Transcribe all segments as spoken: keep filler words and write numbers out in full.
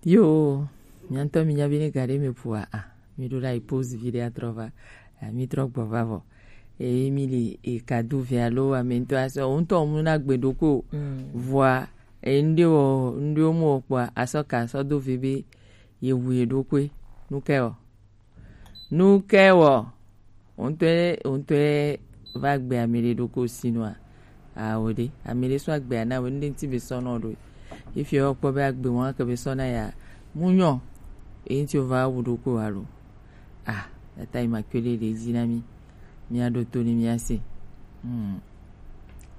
Yo, miantɔ mi nyabi ne gare me pua a. Mi ɖo la pause vi ɖe atrɔ va. A mi trɔ gbɔ va vɔ. E mi li e kadu vi alo ame ŋutɔ asɔ. O ŋutɔ mu na gbe ɖo ko. Vɔa e ŋɖe wɔ ŋɖe wo mu wɔ kpɔa asɔ ka asɔ do vi be ye wu ye ɖo koe. Nu ke wɔ. Nu ke wɔ. Ŋutɔe ŋutɔe va gbe ame ɖe ɖo ko sinua. Awo ɖe ame ɖe sɔ agbe ana wo ŋɖe ŋti be sɔ nɔ ɖo. Ifi wɔ kpɔ be agbe wɔn ke be sɔ na ya. Mu nyɔ. E ŋti wo va wu ɖo ko alo. Ah, tata yi ma kele ɖe dzi na mi. Mi aɖo to ni mi ase. Hmm.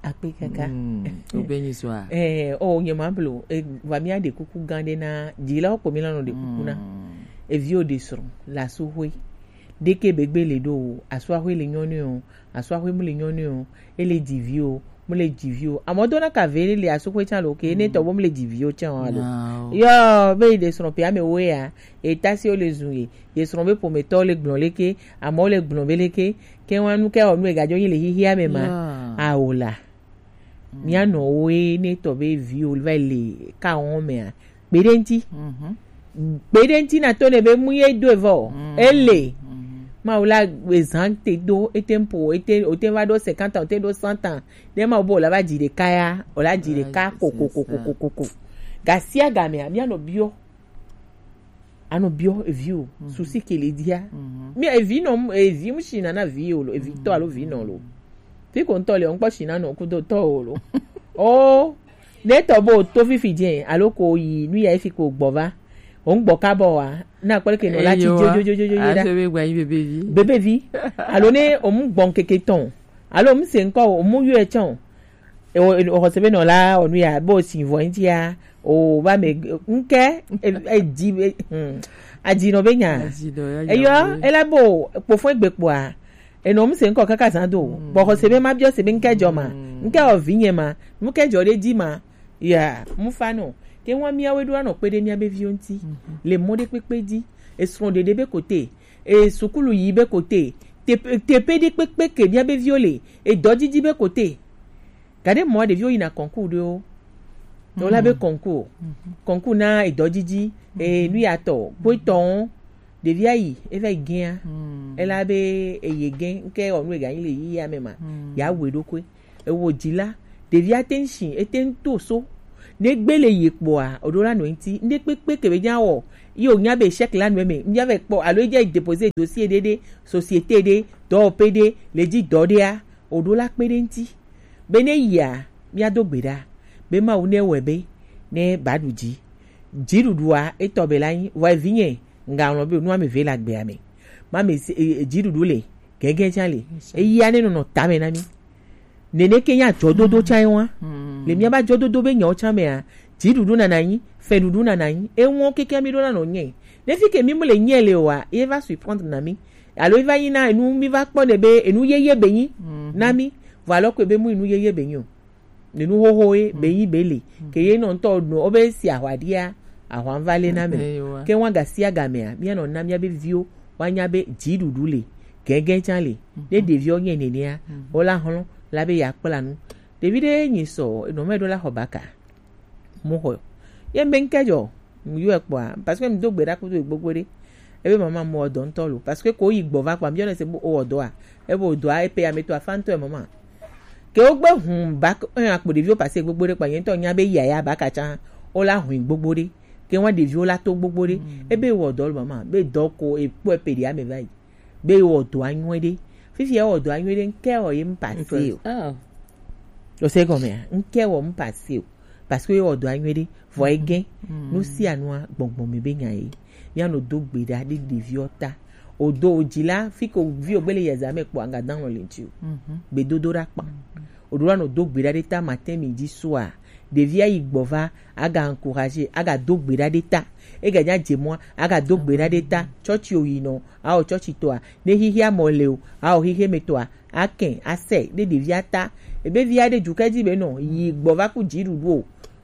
Akpe kaka. Hmm. Obe ni sɔ a. Eh, o nye ma blo. E va mi aɖe kuku gan ɖe na. Dzi la o kpo mi la nɔ ɖe kuku na. Hmm. Evi o ɖe srɔ̃ le asuxwe. Ɖeke be gbe le ɖo o, asuaxwe le nyɔnu o, asuaxwe mu le nyɔnu o, ele dzi vi o, mu le dzi vi o. Amɔ do na ka ve le asuxwe tsan lo ke ne tɔ bo mu le dzi vi o tsan o alo. Yo, be yi ɖe srɔ̃ pe ame wo ya, e ta si o le zun ye, ye srɔ̃ be pometɔ le gblɔ leke, amɔ le gblɔ be leke, ke wa nu ke o nu e gajo yi le hihi ame ma. Awo la. Mía nɔwo ye ne tɔ be vi wo va le ka wɔn mea, kpe ɖe ŋti. Kpe ɖe ŋti na to ne be mu ye do evɔ. Ele. Mawu la ezan te do, ete mpo, ete, ote va ɖo cinquante ans, ote ɖo cent ans. Ne Mawu be o la va dzi ɖeka ya, o la dzi ɖeka kokokokokoko. Gasia gamea, mía nɔ biɔ. Anɔ biɔ evi o, susi ke le dia. Mi evi nɔ, evi mu si na na vi o lo, evi tɔ alo vi nɔ lo. Fi ko ŋutɔ le, ŋkpɔ si na nɔ kudo tɔ o lo. O, ne tɔ bo to fifi dze, alo ko yi nu ya efi ko gbɔ va. O ŋgbɔ ka bɔ wa, na kpɔle ke nɔ la ti jojojojo da. Aso be gba yi bebevi. Bebevi. Alo ne o mu gbɔn keke tɔn. Alo o mu se ŋkɔ o, o mu yɔ etsɔn. E o, o xɔse be nɔ la, o nu ya, bo si vɔ ŋti ya, o ba me, ŋkɛ, e, e dzi be, hmm, adzi nɔ be nya. Adzi nɔ, ya, eyɔ, ya, ela bo, kpofɔ egbe kpoa, enɔ mu se ŋkɔ kaka zan do, bɔ xɔse be ma biɔ se be ŋkɛ jɔ ma, ŋkɛ o vi nye ma, ŋkɛ jɔ ɖe dzi ma, ya, mu fa nɔ. Ke wa miawe ɖo anɔ kpe ɖe mia be viwo ŋti, le mɔ ɖe kpekpe dzi, esrɔ̃ ɖeɖe be kote, e sukulu yi be kote, teƒe, teƒe ɖe kpekpe ke mia be viwo le, edɔ didi be kote. Gaɖe mɔ ɖeviwo yina concours ɖewo. Tɔ la be concours. Concours na edɔdidi, e, nuyatɔ, kpoetɔwo. Ɖevia yi, eva yi gɛa. Ela be eye gɛ, ŋke ɔ nu ega yi le yi ya me ma. Ya wɛ ɖo koe. Ewo dzi la, ɖevia te ŋ shi, ete ŋ to so. Ne gbe le yi kpɔa, oɖo la nɔ ŋti. Ŋɖe kpekpe ke be nya wɔ, yi o nya be échec la nɔ me. Nya be kpɔ, alo edze déposer dossier ɖe ɖe, société ɖe, dɔwɔƒe ɖe, le dzi dɔ ɖea, oɖo la kpe ɖe ŋti. Be ne yia, míado gbe ɖa be Mawu ne wɔe be ne ba ɖu dzi. Dziɖuɖua etɔ be la nyi, vɔ evinye, ŋgalɔ̃ be nu ame eve le agbea me. Ma me se, e, e, dziɖuɖu le, gɛgɛ tsã le. Eyia ne nɔnɔ tame na mí. Nene ke nya dzɔdodo tsã wa. Le míaba dzɔdodo be nyawo tsã mea, dziɖuɖu nana nyi, fɛɖuɖu nana nyi, eŋɔ keke mí ɖo na nɔ nyɛ. Ne fi ke mí mu le nyɛ le oa, ye va surprendre na mí. Alo ye va nyi na enu mí va kpɔ ne be enu yeye be nyi na mí. Vɔ alɔ ko be mu enu yeye be nyi o. Nenu xoxo ye be yi be le. Ke ye nɔ ŋutɔ nɔ wo be si ahwa ɖia, ahwa ŋva le na me. Ke wa gasi agamea, mía nɔ na mía be viwo wa nya be dziɖuɖu le, gɛgɛ tsã le. Ne ɖeviwo nyɛ nenea, wo la hlɔ̃ la be ya kpla nu. Ɖevi ɖe nyi sɔ, enɔ me ɖo la xɔ baka. Mo xɔ. Ye be ŋkɛ jɔ, mu yɔ kpɔa, parce que mi do gbe ɖa kudo gbogbo ɖe. Ebe mama mo dɔ ŋutɔ lo, parce que ko yi gbɔ va kpɔa, mi yɔ ne se bo o dɔa. Ebe o dɔa, e pe ya me to afa ŋutɔ mama. Ke wo gbe hun bak un akpo ɖeviwo pase gbogbo ɖe kpa nye ŋutɔ nya be yaya baka tsã wo la hun gbogbo ɖe. Ke wa ɖeviwo la to gbogbo ɖe. Ebe wɔ dɔ lo mama be dɔ ko e kpɔ e pe ɖi ame va yi. Be wɔ dɔ anyuɛ ɖe. Fifi ya wɔ dɔ anyuɛ ɖe ŋkɛ wɔ ye m pase o. O se gɔmea, ŋkɛ wɔ m pase o. Parce que wɔ dɔ anyuɛ ɖe. Vɔ egɛ. Nu sia nua gbɔngbɔn me be nya ye. Mía nɔ do gbe ɖa ɖe ɖeviwo ta. O do o dzi la, fi ko vi o gbe le yɛ zame kpɔ anga dan lɔ le ŋti o. Gbedodo ɖa kpa. O ɖo la nɔ do gbe ɖa ɖe ta matin midi soir. Ɖevia yi gbɔ va, aga encourager, aga do gbe ɖa ɖe ta. Ega nya dze mɔa, aga do gbe ɖa ɖe ta. Tsɔtsi o yi nɔ, a o tsɔtsi tɔa. Ne xixia mɔ le o, a o xixe me tɔa. Akɛn, asɛ, ɖe ɖevia ta. Ebe via ɖe dukɛ dzi be nɔ, yi gbɔ va ku dziɖuɖu o.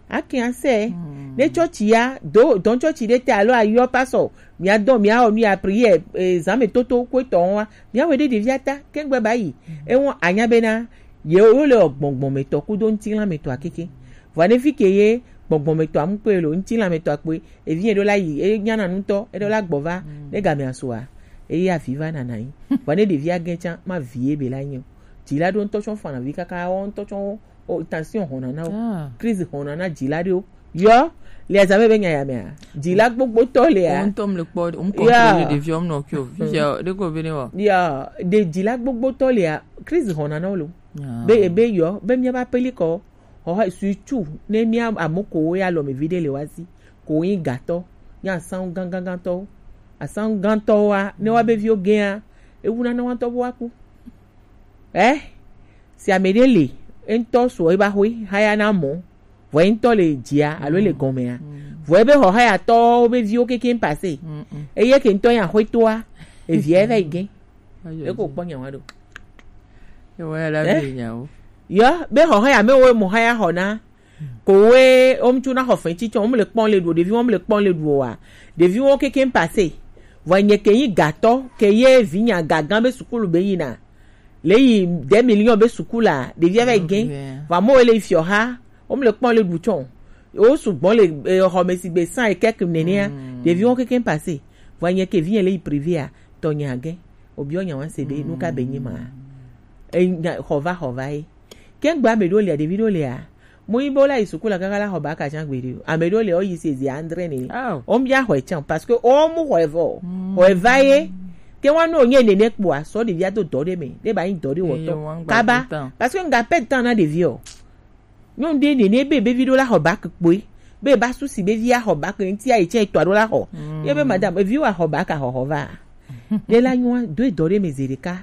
Ake ase. Ne tsɔtsi ya do dɔn tsɔtsi ɖe te alo ayɔ pasɔ, mia dɔn mia wɔ nu ya prière, eh, zame toto ko etɔ wa. Mia wɔ ɖe ɖevia ta kengbe ba yi. Ewɔ anya bena ye wo le gbɔngbɔn me tɔ kudo ŋutilã me tɔ akeke. Vɔ ne fi ke ye Gbɔgbɔ me tɔ amu kpe lo, ŋuti la me tɔ akpe. Evi e ɖo la yi, e nyana nutɔ, e ɖo la gbɔ va, ne game asua, e ya vi va nana yi. Vɔ ne ɖevi a gɛn tsa, ma vi e be la nyi o. Dzi la ɖo ŋutɔ tsɔ fana vi kaka, wɔ ŋutɔ tsɔ o, tension hɔna na o. Crise hɔna na dzi la ɖo. Yɔ, le azame be nya ya mea. Dzi la gbogbo tɔ le a. Ŋutɔ mle kpɔ, ŋutɔ contrôle ɖevi ɔm nɔ kio. Fi ya, ɖe ko be ne wa. Ya, de dzi la gbogbo tɔ le a. Crise hɔna na o lo. Be, be yɔ, be mia ba peli kɔ. Xɔxɔ sutu ne mía ame kowo ya lɔ me vi ɖe le wa si, ko yin gatɔ, nya asangu gangangantɔwo. Asangu gantɔwoa, ne wa be viwo gɛa, ewu na ne wa tɔ bo wa ku. Eh? Si ame ɖe le, eŋutɔ sɔ eba hoe, haya na mɔ, vɔ eŋutɔ le dzia, alo le gɔmea. Vɔ ebe xɔxɔ ya tɔwo be viwo keke pase. Eye ke ŋutɔ ya hoe toa, evia eva yi gɛ. Eko kpɔ nya wa ɖo. Ewa ya la be nyawo. Yɔ, be xɔxɔ ya me wo mo haya xɔ na. Ko we, o ŋutsu na xɔ fɛn tsitsɔ, o mu le kpɔn le ɖu, ɖevi wo mu le kpɔn le ɖu wa. Ɖevi wo keke pase. Vɔ nye ke yi gatɔ, ke ye vi nya gagan be sukulu be yina. Le yi deux millions be sukula, ɖevi ava yi gɛn. Vɔ mo le fiɔ ha, o mu le kpɔn le ɖu tsɔ. O sugbɔ le, eh, xɔ me si be san e kɛk nenea. Ɖevi wo keke pase. Vɔ nye ke vi nye le yi privé a, tɔ nya gɛn. Obiɔ nya wa se be, nu ka be nyi ma. E nya, xɔ va, xɔ va ye. Ke ŋgba ame ɖewo lia, ɖevi ɖewo lia, mo yi be wo la yi suku la kaka la xɔ ba ka tsã gbeɖe o. Ame ɖewo lia, wo yi se zi andre ne. Wo mu ya xɔe tsã, parce que wo mu xɔe vɔ. Xɔe va ye. Ke wa no nye nene kpoa, sɔ ɖevia do dɔ ɖe me, ɖe ba yi dɔ ɖe wɔtɔ. Kaba. Parce que ŋga pɛ tan na ɖevi o. Nyɔnu ɖe nene be, be vi ɖo la xɔ bac kpoe. Be ba susi be vi axɔ bac ŋuti ayi tsɛ etɔ ɖo la xɔ. Ye be madame, evi wa xɔ bac a xɔxɔ va. Ɖe la nyɔa, do edɔ ɖe me zi ɖeka.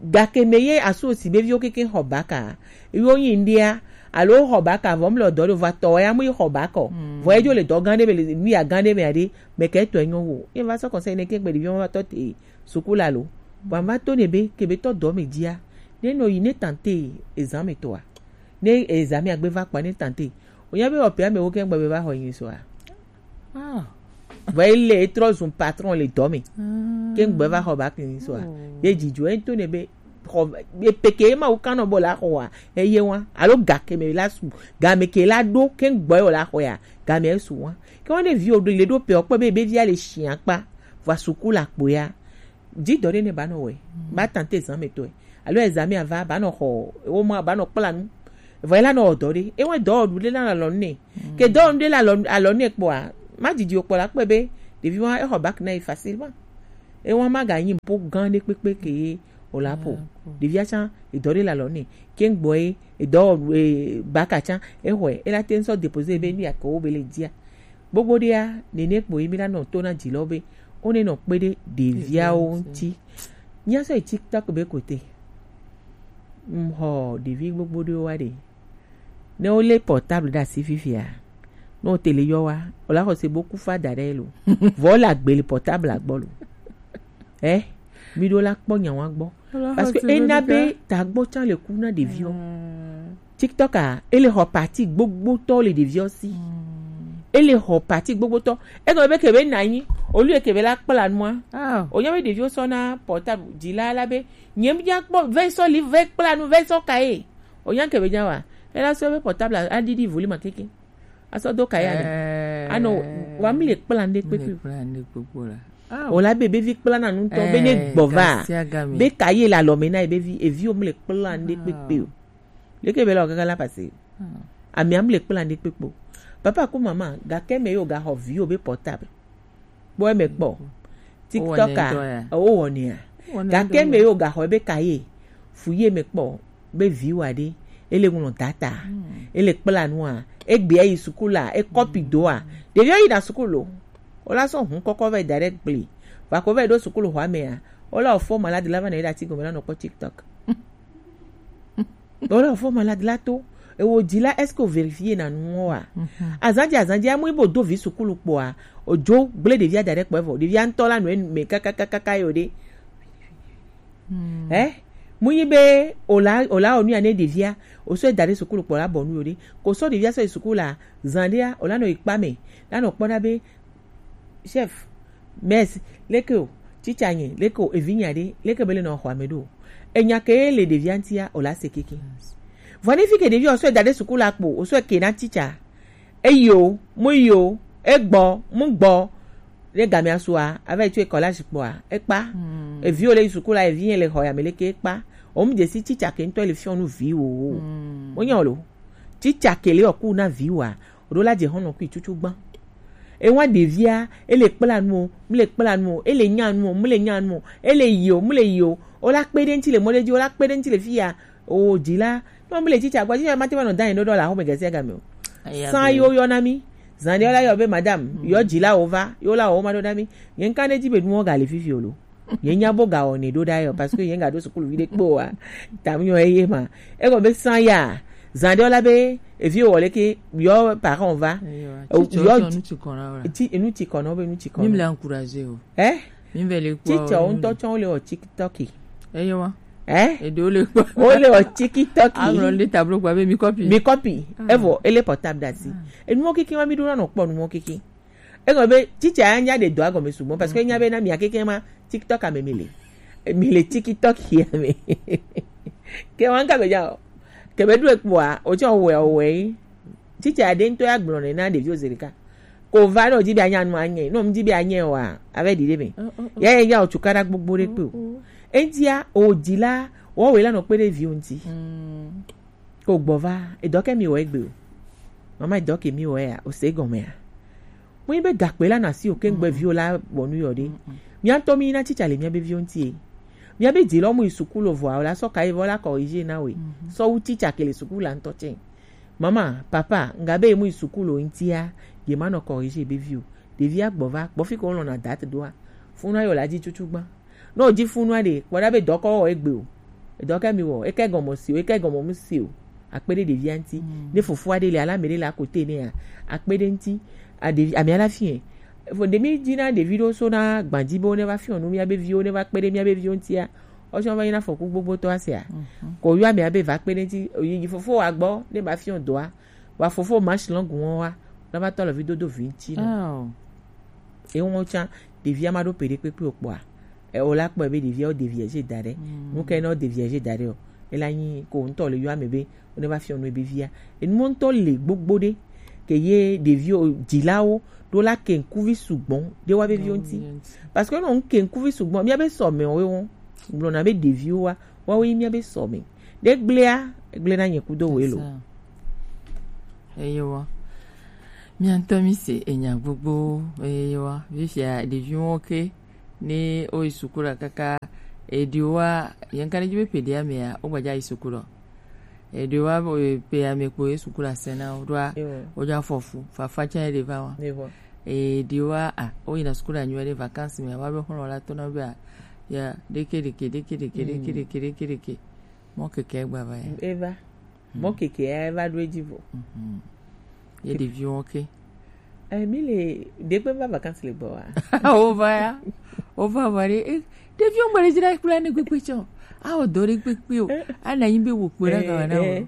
Gake me ye asu osi be viwo keke xɔ bac a. Yo nyi ŋɖea, alo xɔ bac a vɔ mle dɔ ɖo va tɔ ya mu yi xɔ bac o. Vɔ edzo le dɔ gã ɖe me le nu ya gã ɖe me aɖe, me ke tɔ enyo wo. Ye va sɔ conseil ne ke gbe ɖeviwo va tɔ te suku la lo. Vɔ ma to ne be, ke be tɔ dɔ me dzia. Ne nɔ yi ne tante ezan me tɔa. Ne ezan me agbe va kpa ne tante. O nya be wɔ pɛ ame wo ke gbe be va xɔ yin so a. Vɔ ele etrɔ zun patron le dɔ me. Ke gbe va xɔ bac yin so a. Ye dzidzo e to ne be xɔ, e peke ma wo kanɔ bɔ la xɔ a. Eye wa. Alo ga ke me la su. Ga me ke la ɖo ke gbe yo la xɔ ya. Ga me su wa. Ke wa ne vi o ɖo le ɖo pɛ o kpɔ be, be vi a le shi akpa. Va suku la kpo ya. Dzi dɔ ɖe ne ba nɔ wɛ. Ba tante zan me tɔe. Alo ezan me ava, ba nɔ xɔ, wo ma ba nɔ kpla nu. Vɔ ela nɔ wɔ dɔ ɖe. Ewe dɔ ɖu ɖe la alɔ ne. Ke dɔ ɖe la alɔ, alɔ ne kpɔa, ma didi o kpɔ la kpɛ be, ɖevi wa exɔ bac na yi facilement. Ewa ma ga nyi po gan ɖe kpekpe ke ye o la po. Ɖevia tsã, edɔ ɖe la alɔ ne. Ke ŋgbɔ ye, edɔ, e, bac a tsã, exɔe, ela te ŋsɔ déposer be nu ya ke wo be le dzia. Gbogbo ɖea, nene kpo yi mi la nɔ to na dzi lɔ be, wo ne nɔ kpe ɖe ɖeviawo ŋuti. Mía sɔ yi TikTok be kote. M xɔ ɖevi gbogbo ɖewo wa ɖe. Ne wo lé portable ɖe asi fifia, ne wo tele yɔ wa, o la xɔ se bo ku fa da ɖe lo. Vɔ wo le agbe le portable agbɔ lo. Eh, mi ɖo la kpɔ nya wa gbɔ. Parce que ena be tagbɔ tsã le ku na ɖeviwo. TikTok a, ele xɔ parti gbogbotɔ le ɖeviwo si. Ele xɔ parti gbogbotɔ. Egɔme be kebe na anyi, olu ye kebe la kpla nua. O nya be ɖeviwo sɔ na portable dzi la la be, nye mi nya kpɔ, ve sɔ li, ve kpla nu, ve sɔ ka ye. O nya kebe nya wa. Ela sɔ be portable a, a didi volume a keke. Asɔ do ka ya ɖe. Anɔ wa mi le kpla nde kpekpe. O la be, be vi kpla na nutɔ, be ne gbɔ va. Be ka ye la lɔ me na ye be vi, evi o mi le kpla nde kpekpe o. Leke be la o kaka la pase. Ami am le kpla nde kpekpe o. Papa ku mama, ga ke me yo ga xɔ vi o be portable. Kpɔ eme kpɔ. TikTok a, wo wɔnɛ a. Ga ke me yo ga xɔ be ka ye. Fu ye me kpɔ. Be viwa ɖe, ele ŋlɔ data, ele kpla nua, egbe ayi sukulu a, ekɔpi doa. Ɖeviwo yina sukulu o. Wola sɔ hun kɔkɔ vɛ da ɖe gble. Va ko vɛ ɖo sukulu xɔa mea, wola ofo malade la va na yi ɖe ati gɔme la nɔ kpɔ TikTok. Wola ofo malade la to. Ewo dzi la, est-ce que o vérifier na nuwo wa? Azanji, azanji, amu ibo do vi sukulu kpɔa, odzo gble ɖevia da ɖe kpɔ evɔ. Ɖevia ŋutɔ la nɔ enu me kakakaka yo ɖe. Eh, mu yi be ola, ola onu ya ne ɖevia, o sɔ da ɖe sukulu kpɔ la bɔ nu yo ɖe. Ko sɔ ɖevia sɔ yi sukulu la, zan ɖea, ola nɔ yi kpa me, la nɔ kpɔ na be, chef, mess, leke o, teacher nye, leke o, evi nya ɖe, leke be le nɔ xɔ ame ɖo. Enya ke le ɖevia ŋutia, ola se keke. Vɔ ne fi ke ɖevia o sɔ da ɖe sukulu la kpo, o sɔ ke na teacher. Eyo, mu yo, egbo, mu gbo. Ne gamea sua, avec tu école à quoi? Ekpa. Evi o le sukula, evi le hoya meleke ekpa. O mu desi chicha ke nto le fion nu vi o. Mo nyan lo. Chicha ke le oku na vi wa. O do la je hono ku chuchu gban. E wa devia, e le kpla nu o, mu le kpla nu o, e le nyan nu o, mu le nyan nu o, e le yo, mu le yo. O la kpede nti le mode ji, o la kpede nti le fia. O jila. No mu le chicha gba, chicha mate ma no dan do do la ho me gese ga me o. San yo yo na mi. Zande o la yo be madame, yo jila o va, yo la o ma do da mi. Yen kan de ji be nu o ga le fifi o lo. Yen nya bo ga o ne do da yo, parce que yen ga do sukulu vi de kpo wa. Tam yo e ye ma. E ko be san ya. Zande o la be, e vi o le ke, yo parent va. Yo, ti, ti kono be, nu ti kono. Même l'encourager o. Eh? Mi ve le kpɔ. Teacher wo ŋutɔ tsɔ wo le wɔ TikTok. Eye wa. Eh? Eɖewo le kpɔ. Wo le wɔ TikTok. Aŋlɔ le tablo kpɔ be mi copy. Mi copy. Evo ele portable da si. Enuwo keke ma mi ɖo na nɔ kpɔ nuwo keke. Egɔme be teacher ya nya ɖe dɔ agɔme sugbɔ parce que nya be na mia keke ma TikTok ame mi le. Mi le TikTok ya me. Ke wa ŋka be dza o. Ke be ɖo ekpɔa, o tsɔ wɛ o wɛ yi. Teacher ɖe ŋutɔ ya gblɔ nɛ na ɖeviwo zi ɖeka. Ko va ne wòdi be anya nu anye. Ne wòdi be anye oa, ava ɖi ɖe me. Yɛ yɛ nya wòtsu kaɖa gbogbo ɖe kpe o. Eŋutia, wòdi la, wòawɔe la nɔ kpe ɖe viwo ŋuti. Ko gbɔ va, edɔ ke mi wɔ egbe o. Mama edɔ ke mi wɔ ya, o se gɔme ya. Mo yi be gakpe la na si o ke ŋgbe viwo la bɔ nu yɔ ɖe. Mia ŋutɔ mi na teacher le mia be viwo ŋuti e. Mia be di lɔ mu yi sukulu vɔa, o la sɔ ka yi vɔ la corriger na we. Sɔ wu teacher ke le sukulu la ŋutɔ tsɛ. Mama, papa, nga be mu yi sukulu ŋutia, ye ma nɔ corriger be vi o. Ɖevia gbɔ va, gbɔ fi ko lɔna date doa. Funu ayo la dzi tutu gba. No dzi funu aɖe, kpɔ ɖa be dɔkɔ wɔ egbe o. Dɔkɛ mi wɔ, ekɛ gɔmɔ si o, ekɛ gɔmɔ mu si o. Akpe ɖe ɖevia ŋuti. Ne fofo aɖe le ala me ɖe le akote ne ya. Akpe ɖe ŋuti. A ɖevi, ame ala fi yɛ. Fo ɖe mi dzi na ɖevi ɖo so na gbadzi be wo ne va fiɔ nu mia be viwo ne va kpe ɖe mia be viwo ŋutia. Ɔsɔ va yi na fɔku gbogbo tɔ asia. Ko yɔ ame abe va kpe ɖe ŋuti, yi fofo wa gbɔ, ne ba fiɔ doa. Wa fofo ma shi lɔngu wɔn wa, na va tɔ le vi dodo vi ŋuti na. Ewo tsã, ɖevia ma ɖo peɖe kpekpe o kpɔa. E o la kpɔe be ɖevia o ɖevia je da ɖe. Nu ke ne o ɖevia je da ɖe o. E la nyi ko ŋutɔ le yɔ ame be, o ne va fiɔ nu ebe via. Enu ŋutɔ le gbogbo ɖe. Ke ye ɖevi o, dzilawo, ɖo la ke ŋkuvi sugbɔ, ɖe wa be viwo ŋuti. Parce que no ŋke ŋkuvi sugbɔ, mia be sɔ me o wo. Gblɔ na be ɖeviwo wa, wa wo yi mia be sɔ me. Ɖe gblea, gble na nye kudo wo elo. Eyewa. Mia ŋutɔ mi se enya gbogbo, eyewa. Vifia ɖeviwo ke, ne o yi sukulu kaka, eɖewoa, yɛn ka ne dzi be ƒe ɖe amea, o gbadza yi sukulu. Eɖewoa, e, ƒe ame kpo ye sukulu asẽ na wo, ɖoa, wo dza fɔ fu, fafa tsã ye ɖe va wa. Eɖewoa, a, o yina sukulu anyuie ɖe vacances me, wa be xɔlɔ la tɔ na be, a, ya, ɖeke, ɖeke, ɖeke. Mɔ keke gba va ya. Eva. Mɔ keke ya eva ɖo edzi vɔ. Ye ɖeviwo ke. Eh, mi le, ɖe gbe va vacances le gbɔ wa? Wo va ya. Wo va va ɖe, eh, ɖeviwo mele dzra kple ne kpekpe tsɔ. A wo dɔ ɖe kpekpe o. A na nyi be wo kpe ɖe ga na wo.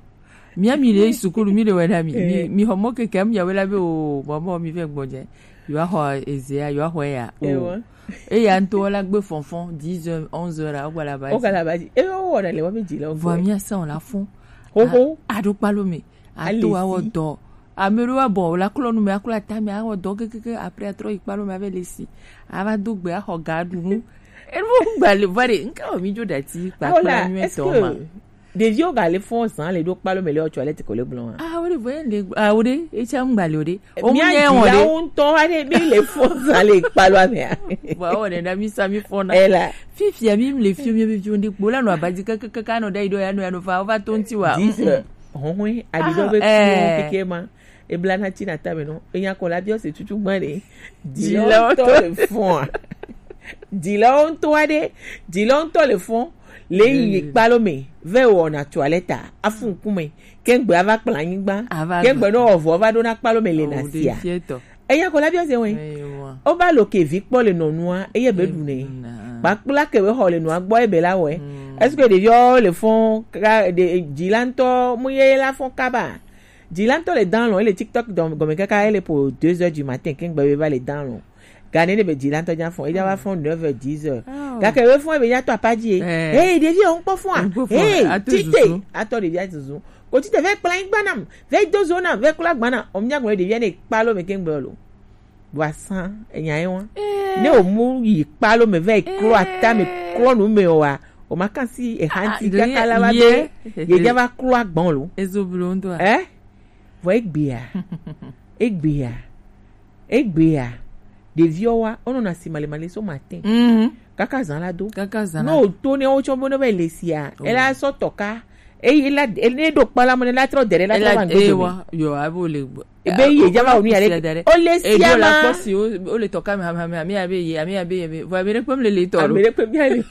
Mia mi le sukulu mi le wɛ na mi. Mi, mi xɔ mɔ keke mi ya wɛ la be o, mɔ mɔ mi vɛ gbɔ dze. Yo axɔ ezea, yo axɔ ya. O. Eya ŋutɔ la gbe fɔnfɔn, dix heures, onze heures, o gba la ba. O gba la ba dzi. E wo wɔ ɖe le wa be dzi le o. Vɔ mia sa o la fɔn. Xoxo. A, a ɖo kpalo me. Ato awɔ dɔ. Ame ɖewo abɔ wòle aklɔ nu me, aklɔ ata me, awɔ dɔ kekeke, après atrɔ yi kpalo me ava le si. Ava do gbe, axɔ ga ɖu nu. Enu gba le va ɖe, nka wɔ mi dzo ɖati kpakpla nyuie tɔ ma. Ɖeviwo ga le fɔ zan le ɖo kpalo me le ɔtsɔ le tiko le gblɔ wa. Ah, wo ɖe vɔ le, ah, wo ɖe, etsa ŋgba le o ɖe. O mu nye wɔ ɖe. Miawo ŋutɔ wa ɖe, mi le fɔ zan le kpalo me. Vɔ awɔ ɖe na mi sa mi fɔ na. Ela. Fifia mi le fi mi fi mi ɖe kpo la nɔ abadzi kekeke anɔ ɖe yi ɖo ya nɔ ya nɔ va, va to ŋti wa. Dix heures. Hɔhɔe, aɖiɖɔ be fiwo keke ma. Ebla na ti na tame nɔ. Enya kɔ la biɔ se tutu gbã ɖe. Dzilawo ŋutɔ le fɔa. Dzilawo ŋutɔ aɖe. Dzilawo ŋutɔ le fɔ. Le yi kpalo me. Ve wɔ na toilette. Afu ŋkume. Kengbe ava kpla anyigba. Kengbe no wɔ vɔ va ɖo na kpalo me le na sia. Eya ko la biɔ se wɛ. O ba lo ke vi kpɔ le nɔnua, eye be ɖu nɛ. Kpakpla ke be xɔ le nua gbɔ ebe la wɛ. Est-ce que ɖeviwo le fɔn ka, ɖe, dzila ŋutɔ mu ye la fɔn kaba? Dzila ŋutɔ le dan lɔ, ele TikTok dɔn gɔme kaka, ele po deux heures du matin, kengbe be va le dan lɔ. Gane ne be dzila ŋutɔ dza fɔn, edza va fɔn neuf heures, dix heures. Gake be fɔn ebe dza tɔ apa dzi e. Hey, ɖevi o ŋkpɔ fɔn a. Hey, tite, atɔ ɖevi a zuzu. Kotite vɛ kpla nyigba nam, vɛ do zo nam, vɛ kpla gba nam. O mia gblɔ ɖevia ne kpalo me ke ŋgbe lo. Vɔ asã enya ye wa. Ne o mu yi kpalo me vɛ klo ata me klo nu me o wa. O ma kan si e hanti kaka la va do. Ye ja va klo agbɔn lo. Ezo blo ŋutɔ. Eh? Vɔ egbea. Egbea. Egbea, ɖeviwo wa, wonɔna si malemale so matin. Mhm. Kaka zã la do. Kaka zã la. No to ne wotsɔ be ne va le sia. Oh. Ela sɔ tɔ ka. Eyi la, ne ɖo kpala mo ne la trɔ dere la trɔ va ŋgbe do. Yo, abo le. Ebe yi ja va onu ya le. O le sia ma. Kpɔ si o le tɔ ka mi hami hami ami abe ye ami abe ye. Vɔ ami ɖe kpem le le tɔ lo. Ami ɖe kpem ya le.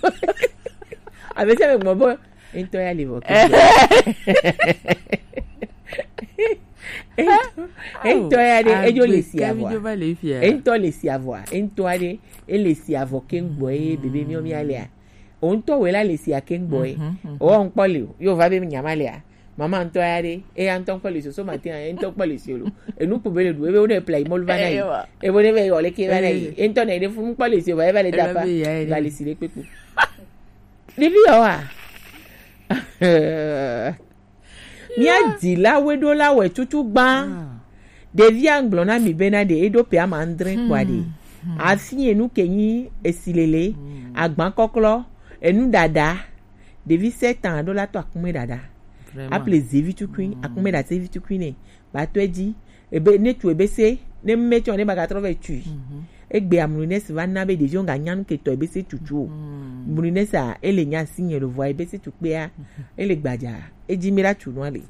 Abe se me gbɔ bo. Ŋutɔ ya le vɔ ke. Ŋutɔ ya ɖe edzo le si avɔa. Ŋutɔ le si avɔa. Ŋutɔ aɖe ele si avɔ ke ŋgbɔ ye bebe miɔ mia lea. O ŋutɔ wela le si ake ŋgbɔ ye. O ŋkpɔ le o. Yo va be nyama lea. Mama ŋutɔ ya ɖe eya ŋutɔ ŋkpɔ le si o so ma te ya ŋutɔ ŋkpɔ le si o lo. Enu kpo be le ɖu ebe wo ne pla imolu va na yi. Ebo ne be yɔ le ke va na yi. Ŋutɔ na yi ɖe fu ŋkpɔ le si o va eva le dapa. Va le si le kpekpe. Ɖevi yawoa? Mía dzilawoe ɖo la wɛ tutu gbã. Ɖevia ŋgblɔ na mi bena ɖe eɖo pe ama andre kpɔa ɖe. Afi enu ke nyi esilele, agba kɔklɔ, enu ɖaɖa. Ɖevi sept ans ɖo la to akume ɖaɖa. Vraiment. Aple zevi tukui, akume ɖa zevi tukui ne. Ba to edzi. Ebe ne tu ebe se, ne me tsɔ ne ba ga trɔ vɛ tui. Egbe amrunesi va na be ɖeviwo ga nyanu ke tɔ ebe se tutu o. Mrunesi a ele nya si nye lo vɔ ebe se tu kpea, ele gbadza. Edzi mi la tu no ale.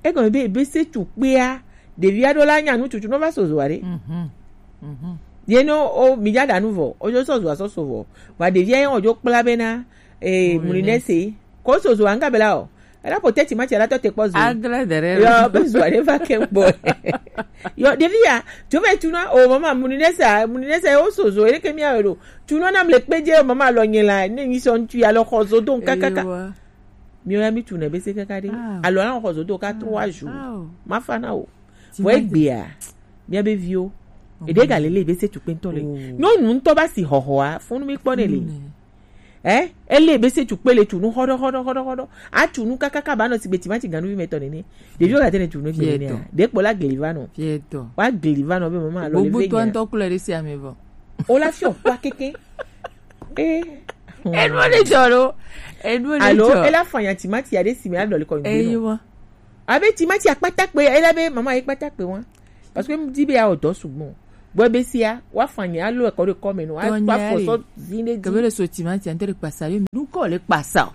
Egɔme be ebe se tu kpea, ɖevi aɖewo la nyanu tutu no va sozo are. Ye no o mi ja ɖa nu vɔ, o jo sozo asɔ so vɔ. Va ɖevi ayi o jo kpla bena, eh, mrunesi. Ko sozo anga bela o. Ela po teti ma ti ala to te kpɔ zo. Agle dere. Yo be zo ale va ke kpɔ. Yo ɖevi ya, jo be tuna o mama mrunesi, mrunesi o sozo ele ke mi awe do. Tuna na mle kpe je mama lo nye la, ne nyi so ntu ya lo xɔ zo do kakaka. Mi o ya mi tuna be se kaka de. Alo la xɔ zo do ka trois jours. Ma fa na o. Vɔ egbea, mía be viwo. Eɖe ga le le be se tukpe ŋutɔ le. Nyɔnu ŋutɔ ba si hɔhɔa, funu mi kpɔ ne le. Eh, ele be se tukpe le tu nu hɔɖɔ hɔɖɔ hɔɖɔ hɔɖɔ. A tu nu kakaka ba nɔ si be timati ganuvi me tɔ nene. Ɖeviwo ga te ne tu nu gbe nene. Ɖe kpɔ la gli va nɔ. Wa gli va nɔ be mama alɔ le ve nya. Gbogbo to ŋutɔ klo ɖe si ame vɔ. O la fiɔ kpa keke. Eh. Enu le jɔ lo. Enu le jɔ. Alo ela fanya timati ya ɖe si me alɔ le kɔ ŋgbe nɔ. Abe timati akpata kpe, ela be mama ye kpata kpe wa. Parce que mdi be ya odɔ sugbɔ. Bo be sia, wa fanya alo e ko de kɔ me no, wa fo so zinde di. Kebe le so timati ante de kpasa yo, nu ko le kpasa.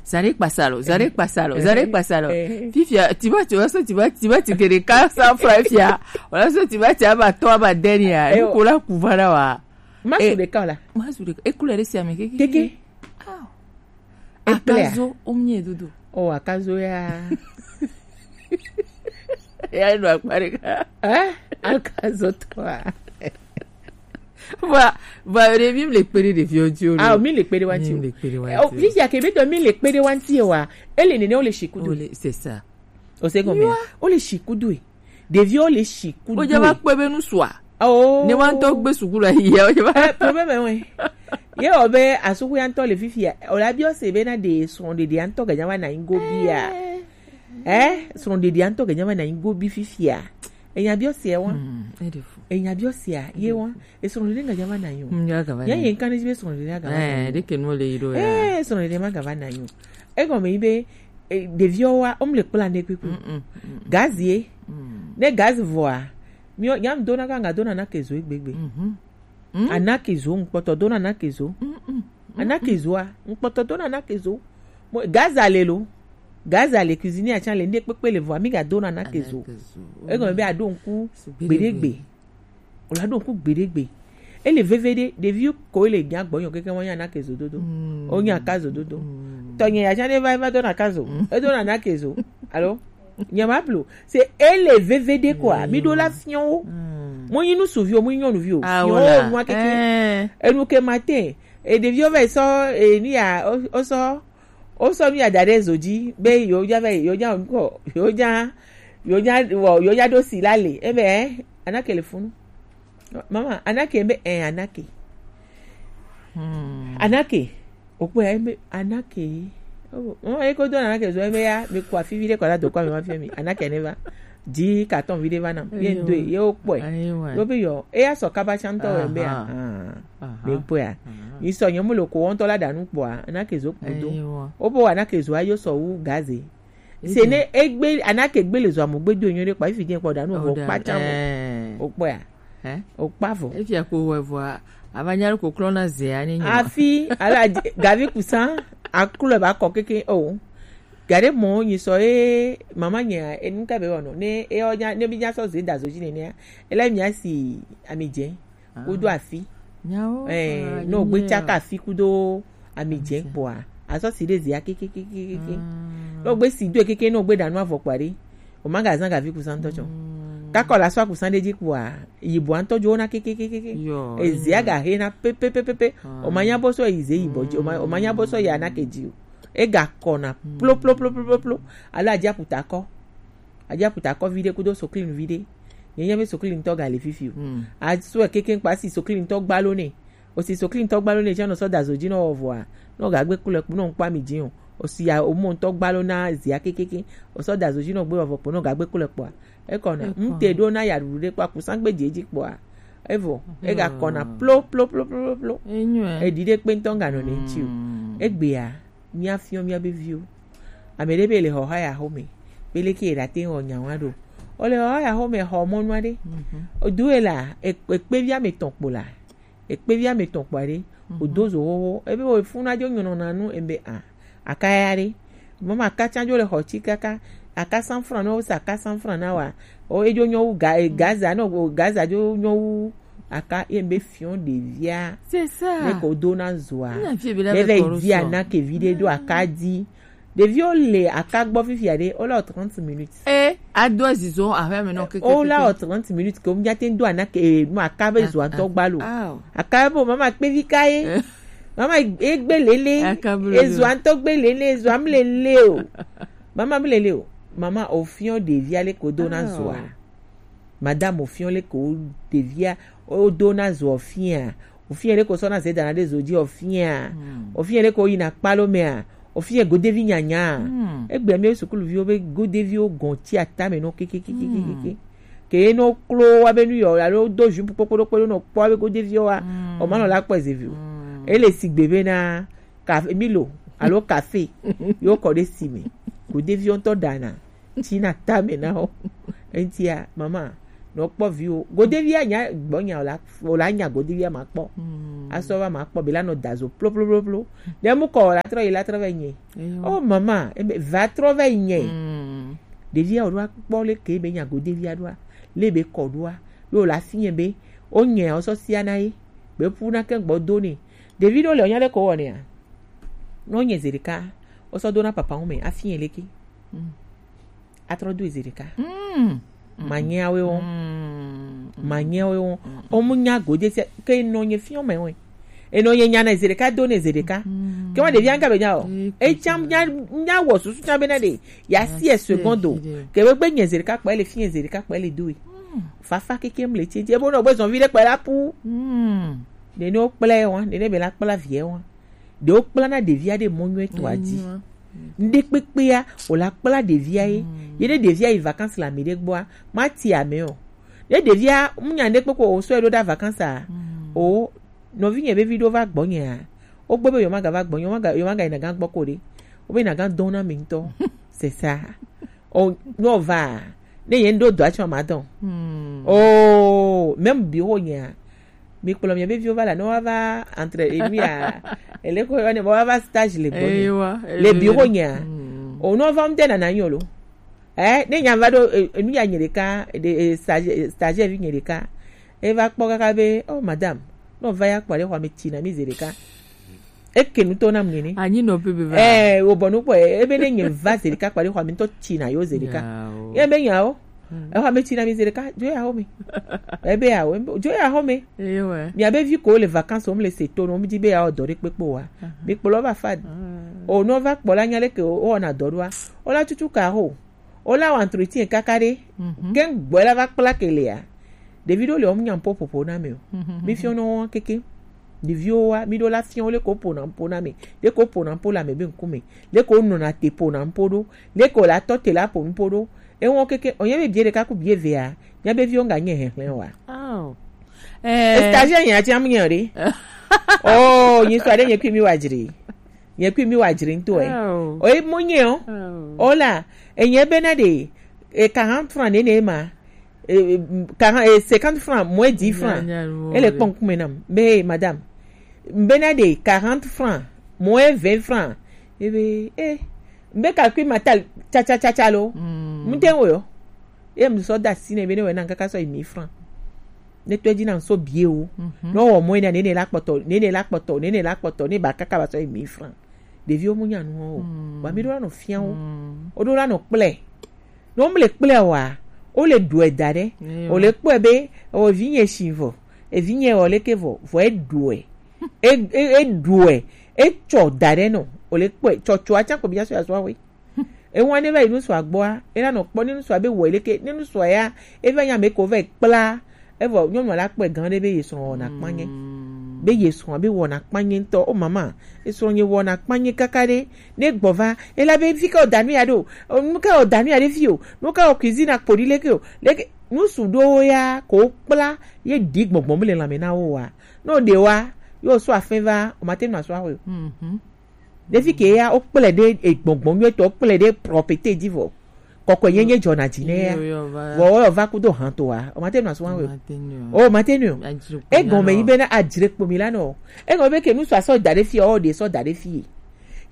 Zare kpasa lo, zare kpasa lo, zare kpasa lo. Fifia, timati, wa so timati, timati ke de ka sa fra fia. Wa so timati aba to aba deni ya. Nu ko la ku va na wa. Ma su de ka la. Ma su de ka. E couleur si ame keke. Keke. Akazo omnye dodo. Oh, akazo ya. Ya no akpare ka. Eh? Akazo to. Voilà, voilà, mi le pere de vieux Dieu. Ah, mi le pere wanti. Mi le pere wanti. Oh, visi ya ke be do mi le pere wanti wa. Ele nene o le shikudu. C'est ça. O se combien? O le shikudu. Ɖeviwo le shikudu. O ja va kpɔe be nu sua. Oh. Ne wa ŋutɔ gbe suku la yi ya, o ja va. Eh, problème wɛ. Ye o be asuku ya ŋutɔ le fifia. O la biɔ se be na de srɔ̃ɖeɖi ya ŋutɔ ga nya va na nyi gobi ya. Eh, srɔ̃ɖeɖi ya ŋutɔ ga nya va na nyi gobi fifia. Enya biɔ se wa. Enya biɔ se ye wa. E srɔ̃ɖeɖi ga nya va na nyi o. Ya ye kan ji be srɔ̃ɖeɖi ga va na nyi. Eh, de ke no le yi do ya. Eh, srɔ̃ɖeɖi ma ga va na nyi o. Egɔme yi be, eh, ɖeviwo wa, wo mle kpla ne kpekpe. Gazi ye. Ne gazi vɔa, mi nyam dona ka nga dona na kezo egbegbe. Ana kezo ŋkpɔtɔ dona na kezo. Ana kezoa, ŋkpɔtɔ dona na kezo. Mo gazi ale lo. Gazi ale cuisine atsa le ne kpekpe le vɔa, mi ga dona na kezo. Egɔme be aɖo ŋku gbeɖegbe. O la ɖo ŋku gbeɖegbe. Ele veve ɖe, ɖevi ko le nya gbɔ nyɔ keke wa nya na ke zododo. O nya ka zododo. Tɔnye ya nya ne va va do na ka zo. E do na na ke zo. Alo? Nya ma blo. Se ele veve ɖe quoi. Mi ɖo la fiɔn wo. Mo nyi nu suvi o, mo nyi nyɔnuvi o. Fiɔn wo nua keke. Enu ke matin. E ɖeviwo va sɔ e ni ya o sɔ O sɔ nu ya da ɖe zo dzi be yewo dza va yi, yewo dza wɔ ŋkɔ, yewo dza, yewo dza wɔ, yewo dza ɖo si la le. Ebe, eh, Anake le funu. Mama, Anake be, eh, Anake. Anake. Okpɔe ebe, Anake. Oh, oh, e ko do na ke zo e be ya, mi ko afi vi ɖe kɔ la do kɔ mi ma fi mi. Ana ke ne va. Di carton vi ɖe va na. Ye do ye o kpɔe. Ayiwa. Lo be yo, e ya sɔ kaba chan to e be ya. Aha. Ah. Aha. Mi kpɔe ya. Aha. Mi sɔ nyɛ mu lo ko wɔntɔ la danu kpɔa, ana ke zo kpo do. Ayiwa. O bo ana ke zo ayo sɔ wu gaze. Se ne egbe ana ke gbe le zo amo gbe do nyo ɖe kpɔ, ifi je kpɔ danu o kpa chan mo. Eh. O kpɔe ya. Hein? O kpa vɔ. Efia ko wɔ vɔa, ava nya ko klɔ na zea ni nyo. Afi, ala gavi kusan, aklo ba kɔ keke o. Gade mo nyi sɔ e mama nya e nka be wono. Ne e o nya ne bi nya sɔ ze da zo ji ne ne. E la mi asi ami je. Kudo afi. Nyawo. Eh, no gbe chaka afi kudo ami je kpɔa. Asɔ si ɖe zia keke keke keke. No gbe si do keke no gbe danu avɔ kpɔa ɖe. O ma ga zan gavi kusan tɔ tsɔ. Kakɔ la sɔ kusan ɖe ji kpɔa. Yibɔ ŋutɔ dzo na kekekekeke. Yo, ezia ga he na pepepepepe. O ma nya bɔ sɔ yi ze yibɔ dzi. O ma o ma nya bɔ sɔ ya na ke dzi o. E ga kɔ na plo plo plo plo plo plo. Alo adzi aputa kɔ. Adzi aputa kɔ vi ɖe kudo soklin vi ɖe. Nye nya be soklin tɔ ga le fifi o. Asɔ keke kpa si soklin tɔ gbalo ne. O si soklin tɔ gbalo ne tsɔ nɔ sɔ da zo dzi nɔ wɔ vɔa. Nɔ ga gbe kulɛ kpo nɔ nkpa mi dzi o. O si ya o mo ŋutɔ gbalo na zia kekeke. O sɔ da zo dzi nɔ gbe wɔ vɔ kpo nɔ ga gbe kulɛ kpoa. Ekɔna ŋute ɖo na yaɖuɖu ɖe kpɔ akusagbe dzi edzi kpɔa, evo ega kɔna plo plo plo plo plo plo. Eɖi ɖe kpe ŋutɔ ŋga nɔ ne ŋuti o. Egbea, mía fiɔ mía be viwo. Ame ɖe be le xɔxa ya xome, be leke ye ɖate wɔ nya wa ɖo. O le xɔxa ya xome xɔ mɔnu aɖe. O du e la, ekpe vi ame tɔn kpo la. Ekpe vi ame tɔn kpo aɖe. O do zo xoxo. Ebe wo funa dzo nyɔnɔ na nu ebe a. Aka ya ɖe. Mama aka tsa dzo le xɔ tsi kaka. Aka cent francs na wo sa aka cent francs na wa. O edzo nyɔ wu ga e, gaza no o gaza dzo nyɔ wu aka ye be fiɔ ɖevia. C'est ça. Ne ko do na zoa. Ne via na ke vi ɖe do aka di. Ɖeviwo le aka gbɔ fifia ɖe, wo la wɔ trente minutes. E ado azizo aƒe me nɔ keke. Wo la wɔ trente minutes ke wo mía te do ana ke nu aka be zo antɔ gbalo. Aka be mama kpevi ka ye. Mama egbe lele. Ezo antɔ gbe lele, ezo am lele o. Mama am lele o. Mama o fiɔ ɖevia le ko do na zoa. Madame o fiɔ le ko ɖevia o do na zo o fia. O fia le ko sɔ na ze dana ɖe zo dzi o fia. O fia le ko yina kpalo mea. O fia godevi nyanya. Egbe mi sukuluviwo be godeviwo gɔn tsi atame no kekekekekeke. Ke no klo wa be nu yɔ alo do jupe kpokpo ɖo kpe ɖo no kpɔ be godeviwo wa. O ma nɔ la kpɔ ezevi o. Ele sigbe be na kafe milo alo kafe yo kɔ ɖe si me. Godeviwo ŋutɔ ɖana. Tsi na tame na wo. Eŋtia mama nɔ kpɔ viwo godevia nya gbɔ nya o la o la nya godevia ma kpɔ. Asɔ va ma kpɔ be la nɔ da zo plo plo plo plo. Ne mu kɔ o la trɔ yi la trɔ va nye. O mama ebe va trɔ va nye. Ɖevia o ɖo akpɔ le ke be nya godevia ɖoa le be kɔ ɖoa yo la si nye be o nye o sɔ sia na ye be pu na ke gbɔ do ne. Ɖevi ɖo le o nya le ko wɔ nea. No nye zerika o sɔ do na papa ŋu me afi nye leke. Atrɔ do ezerika. Manyɛawe wo. Manyɛawe wo. Omu nya gode se ke no nye fiɔ me wo. Eno nye nya na ezerika do na ezerika. Ke wa ɖevia ŋka be nya o. Etsam nya nya wɔ susu tsam be na ɖe. Ya si e secondo. Ke be gbe nye ezerika kpɔ ele fi ezerika kpɔ ele do e. Fafa keke mle tse tse bo no gbe zɔn vi ɖe kpɔ la pu. Nene wo kple wa, nene be la kpla vie wa. Ɖewo kplana ɖevia ɖe mɔ nyuietɔa dzi. Ŋɖe kpekpea wòle akpla ɖevia ye. Ye ɖe ɖevia yi vacances le ami ɖe gbɔa, mati ame o. Ne ɖevia munya ŋɖe kpekpe o sɔe ɖo ɖa vacances a, o nɔvinye be vi ɖo va gbɔnyea, wogbe be yewomaga va gbɔnye, yewomaga yewomaga yina gã gbɔ ko ɖe. Wobe yina gã dɔn na mi ŋutɔ. C'est ça. O no va ne ye ŋɖo dɔa tsɔ ma dɔn. O même bi ho nyea. Mi kplɔ mia be viwo va la ne woava entre enu ya ele ko yɔ ne woava stage le gbɔ le bureau nyea. O ne wova ŋde nana nyo lo. Eh ne nya va ɖo enu ya nye ɖeka stage stage vi nye ɖeka. Eva kpɔ kaka be oh madame, ne wova ya kpɔ ɖe xɔa me tsi na mi ze ɖeka. Eke nu to nam nene. Anyi nɔ pebe va. Eh wo bɔ nu kpɔ ebe ne nye va ze ɖeka kpɔ ɖe xɔa me ŋutɔ tsi na yo ze ɖeka. Ye be nya o. Exɔ ame tsi na mi ze ɖeka dzo ya xɔ me. Ebe ya o dzo ya xɔ me. Eyo ɛ. Mia be vi ko le vacances o mle se to no mi di be ya o dɔ ɖe kpekpe wa. Mi kplɔ va fa. O no va kpɔ la nya leke o wɔna dɔ ɖoa. O la tutu ka ho. O la wa entretien kaka ɖe. Ke gbɔ la va kpla ke le ya. Ɖevi ɖo le o nya popopo na me o. Mi fiɔ no keke. Ɖeviwo wa, mi ɖo la fia wo leke wo pona nupo na ame, leke wo pona nupo le ame be ŋkume, leke wo nɔna te pona nupo ɖo, leke wo la tɔ te la po nupo ɖo. Ewo keke, o nye be bie ɖeka ku bie evea, nya be viwo ŋga nye hehlẽ wa. Oh. Eh, Stagiaire nya ti amu nya ɖe. Oh, nyi sɔ ɖe nye kui mi wa dzre. Nye kui mi wa dzre ŋutɔ ɛ. Oh. O ye mo nye o. Oh. O la, enye be na ɖe, e quarante francs nene ma. E, e, quarante, e, cinquante francs, moins dix francs. Nya, nya, nya, Ele nya. Kpɔn kume nam. Be, hey, madame. Be na ɖe quarante francs, moins vingt francs. E be, eh, be calcul ma tal, tsa, tsa, tsa, tsa lo. Mm. Mu te wo yo. E mu sɔ da si ne be ne we na kaka sɔ yi mille francs. Ne to dzi na so bie wo. Mhm. No wo mo ne ne la kpɔtɔ, ne ne la kpɔtɔ, ne ne la kpɔtɔ, ne ba kaka ba sɔ yi mille francs. Ɖeviwo mu nya nu o. Mm. Wa mi ɖo la nɔ fia wo. Mm. O ɖo la nɔ kple. No mu le kple wa, o le ɖu ɛ da ɖe. Eyo. O le kpɔe be, o vi nye si vɔ, evi nye o leke vɔ, vɔ e ɖu ɛ. E, e, e ɖu ɛ. E tsɔ da ɖe nɔ. O le kpɔe, tsɔtsɔ atsa ko bi nya so ya so awe. Ewa ne va yi nusua gbɔa, e la nɔ kpɔ ne nusua be wɔ leke, ne nusua ya, e va nya me ko va yi kpla. Evɔ nyɔnua la kpɔe gan ɖe be ye srɔ̃ wɔna kpanye. Be ye srɔ̃ be wɔna kpanye ŋutɔ. O mama, e srɔ̃ nye wɔna kpanye kaka ɖe. Ne gbɔ va, e la be fi ke o da nu ya ɖo. O, nu ke o da nu ya ɖe fi o. Nu ke o cuisine akpo ɖi leke o. Leke, nusu ɖowo ya ko kpla ye ɖi gbɔgbɔ mu le lãme na wo wa. No ɖe wa, yo so afin va, o ma te nu aso awe o. Mhm. Ɖevi ke ya, o kple ɖe egbɔgbɔ nyuie tɔ, o kple ɖe propreté dzi vɔ. Kɔkɔe ye nye dzɔna dzi ne ya. Yo, yo, va. Vɔ o va kudo han to wa. O ma te nu aso awe o. Ma te nu. O ma te nu. Adzre kpo Egɔme ya yi nɔ. Be na adzre kpo mi la nɔ. Egɔme be ke nusua sɔ da ɖe fi o, ɖe sɔ da ɖe fi.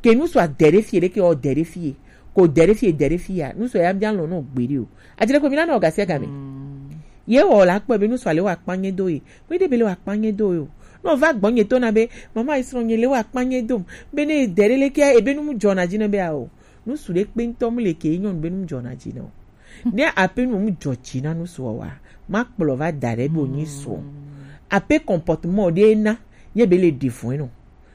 Ke nusua de ɖe fi, ɖe ke o de ɖe fi. Ko de ɖe fi, de ɖe fi ya. Nusua ya bia lɔ no gbe ɖi o. Adzre kpo mi la nɔ gasia game. Ye wɔ la kpɔ be nusua le wa kpanye do ye. Be de be le wa kpanye do yo. No va gbɔ nye to na be, mama isrɔ̃ nye le wa kpanye dom. Be ne de ɖe le ke ebe nu mu dzɔna dzi ne be a o. Nusu ɖe kpe ŋutɔ mu le ke nyɔnu be nu mu dzɔna dzi ne o. Ne ape nu mu dzɔ dzi na nusu wa, ma kplɔ va da ɖe be o nyi sɔ. Ape comportement ɖe na, ye be le ɖe vɔe no.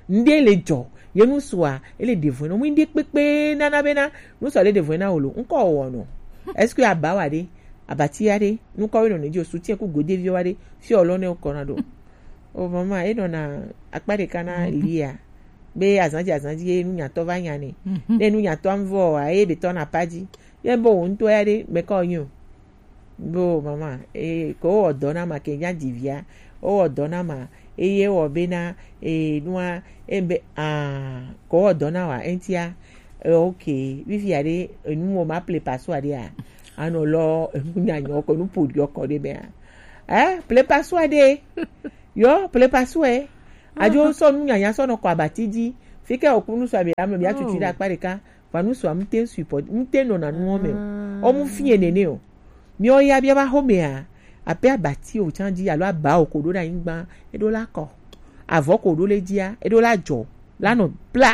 Ŋɖe le dzɔ, ye nusua, ele ɖe vɔe no. Mu ŋɖe kpekpe nana be na, nusua le ɖe vɔe na o lo. Ŋkɔ wɔ no. Est-ce que aba wa ɖe, abati ya ɖe, nukɔ we no ne dzi o, soutien ku godevi wa ɖe, fi o lɔ ne o kɔ na ɖo. O mama, e nɔna akpa ɖeka na lia. Be azanji azanji ye nunyatɔ va nya ne. Ne nunyatɔ am vɔ wa, ye be tɔ na pa dzi. Ye bo wo ŋutɔ ya ɖe, me kɔ nyo. Bo mama, e ko wɔ dɔ na ma ke nya dzi via. O wɔ dɔ na ma, eye wɔ be na, e nua, e be, ah, ko wɔ dɔ na wa, entia. E, ok, vivia ɖe, enu mo ma ple pasua ɖe a. Anɔ lɔ, enu nyanyɔ ko, nu podi ɔkɔ ɖe me a. Eh, ple pasua ɖe. Yo, ple pasua e. Adzo sɔ nu nyanya sɔ nɔ kɔ abati dzi. Fi ke oku nu sɔ abia me bia tutu ɖe akpa ɖeka. Va nusua mu te support, mu te nɔna nuwo me o. O mu fie nene o. Miwo ya bia va xomea, ape abati o tsan dzi alo aba o ko ɖo ɖe anyigba, e ɖo la kɔ. Avɔ ko ɖo le dzia, e ɖo la dzɔ, la nɔ bla.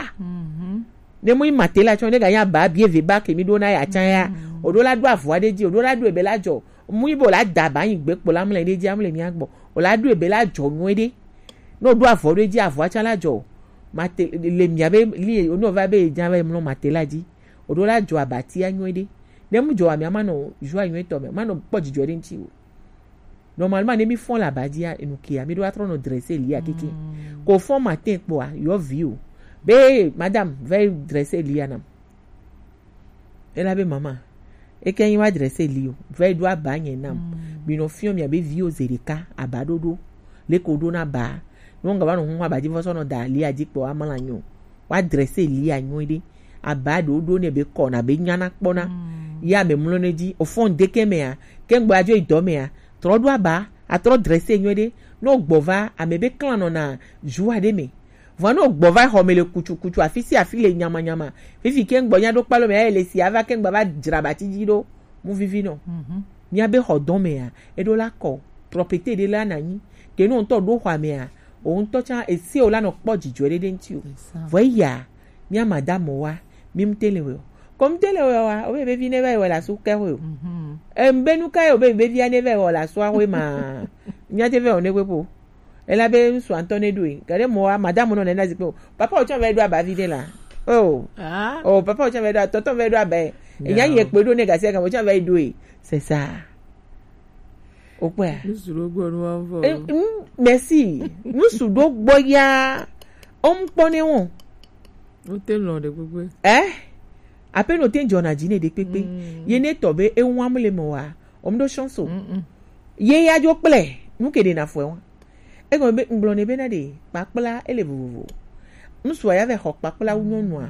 Ne mu yi mate la tsɔ, ne ga nya ba bie ve ba ke mi ɖo na ya tsan ya, o ɖo la ɖo avɔ aɖe dzi, o ɖo la ɖo ebe la dzɔ. Mu yi bo la da ba anyi gbe kpo la mlɛ ɖe dzi amlɛ mia gbɔ. O la ɖo ebe la dzɔ nyuie ɖe. Ne o ɖo avɔ ɖe dzi, avɔa tsan la dzɔ. Mate le mia be li, o ne o va be dza va mlɔ mate la dzi. O ɖo la dzɔ abatia nyuie ɖe. Ne mu dzɔ amia ma nɔ joie nyuie tɔ me, ma nɔ kpɔ dzidzɔ ɖe ŋuti o. Normalement, ne mi fɔn le aba dzia, enu kia, mi ɖo atrɔ nɔ dresser lia keke. Ko fɔn matin kpɔa, yɔ vi o. Be, madame, veuillez dresser lia nam. Ela be mama, eke nyi wa dresser li o, veuillez ɖo aba nye nam. Mi nɔ fiɔ mia be vi o ze ɖeka, aba ɖoɖo. Leke o ɖo na ba. No nga va nɔ hun aba dzi vɔ sɔ nɔ da lia dzi kpɔ amla nyo. Wa dresser lia nyuie ɖe. Aba ɖo ɖo ne be kɔ na be nyana kpɔna. Ya me mlɔ ne dzi. O fɔn de ke mea, ke ŋgbɔ adzo yi dɔ mea, trɔ ɖo aba, atrɔ dresser nyuie ɖe. No gbɔ va, ame be klan nɔ na joie ɖe me. Vɔ no gbɔ va xɔ me le kutu kutu, afi si afi le nyama nyama. Fifi ke ŋgbɔ nya ɖo kpalo me, ya le si ava ke ŋgbɔ va dzra abati dzi ɖo. Mu vivi nɔ. Mia be xɔ dɔ mea, e ɖo la kɔ. Propriété ɖe la na nyi. Ke no ŋutɔ ɖo xɔ mea, o ŋutɔ tsa ese o la nɔ kpɔ dzidzɔ ɖe ɖe ŋuti o. Vɔ eya, mia madame wa, mi mu te le wɛ o. Ko mu te le wɛ wa, o be be vi ne va yi wɛ la su ke wɛ o. Em be nu ka ye o be be via ne va yi wɛ la su a wɛ ma. Mia te va yi o ne wɛ po. Ela be ŋsu antɔ ne ɖo e. Gade mɔ wa, madame nɔ ne na zikpe o. Papa o tsa va yi ɖo aba vi ɖe la. Oh. Oh, papa o tsa va yi ɖo, tɔtɔ va yi ɖo aba e. Enya ye kpe ɖo ne gasi aga o tsa va yi ɖo e. C'est ça. O kpɔa? Nusu ɖo gbɔ nu wa vɔ. Eh, mm, merci. Nusu ɖo gbɔ ya. Om kpɔ ne wo. O te lɔ de gbegbe. Eh? Ape no te jɔ na ji ne de kpekpe. Mm. Ye ne tɔ be e wa mu le mo wa. Om do chance o. Mm-mm. Ye ya jo kple. Nu ke de na fo e wa. E gɔme be ngblɔ ne be na de kpakpla ele vovovo. Nusu ya ve xɔ kpakpla wu nyɔnua.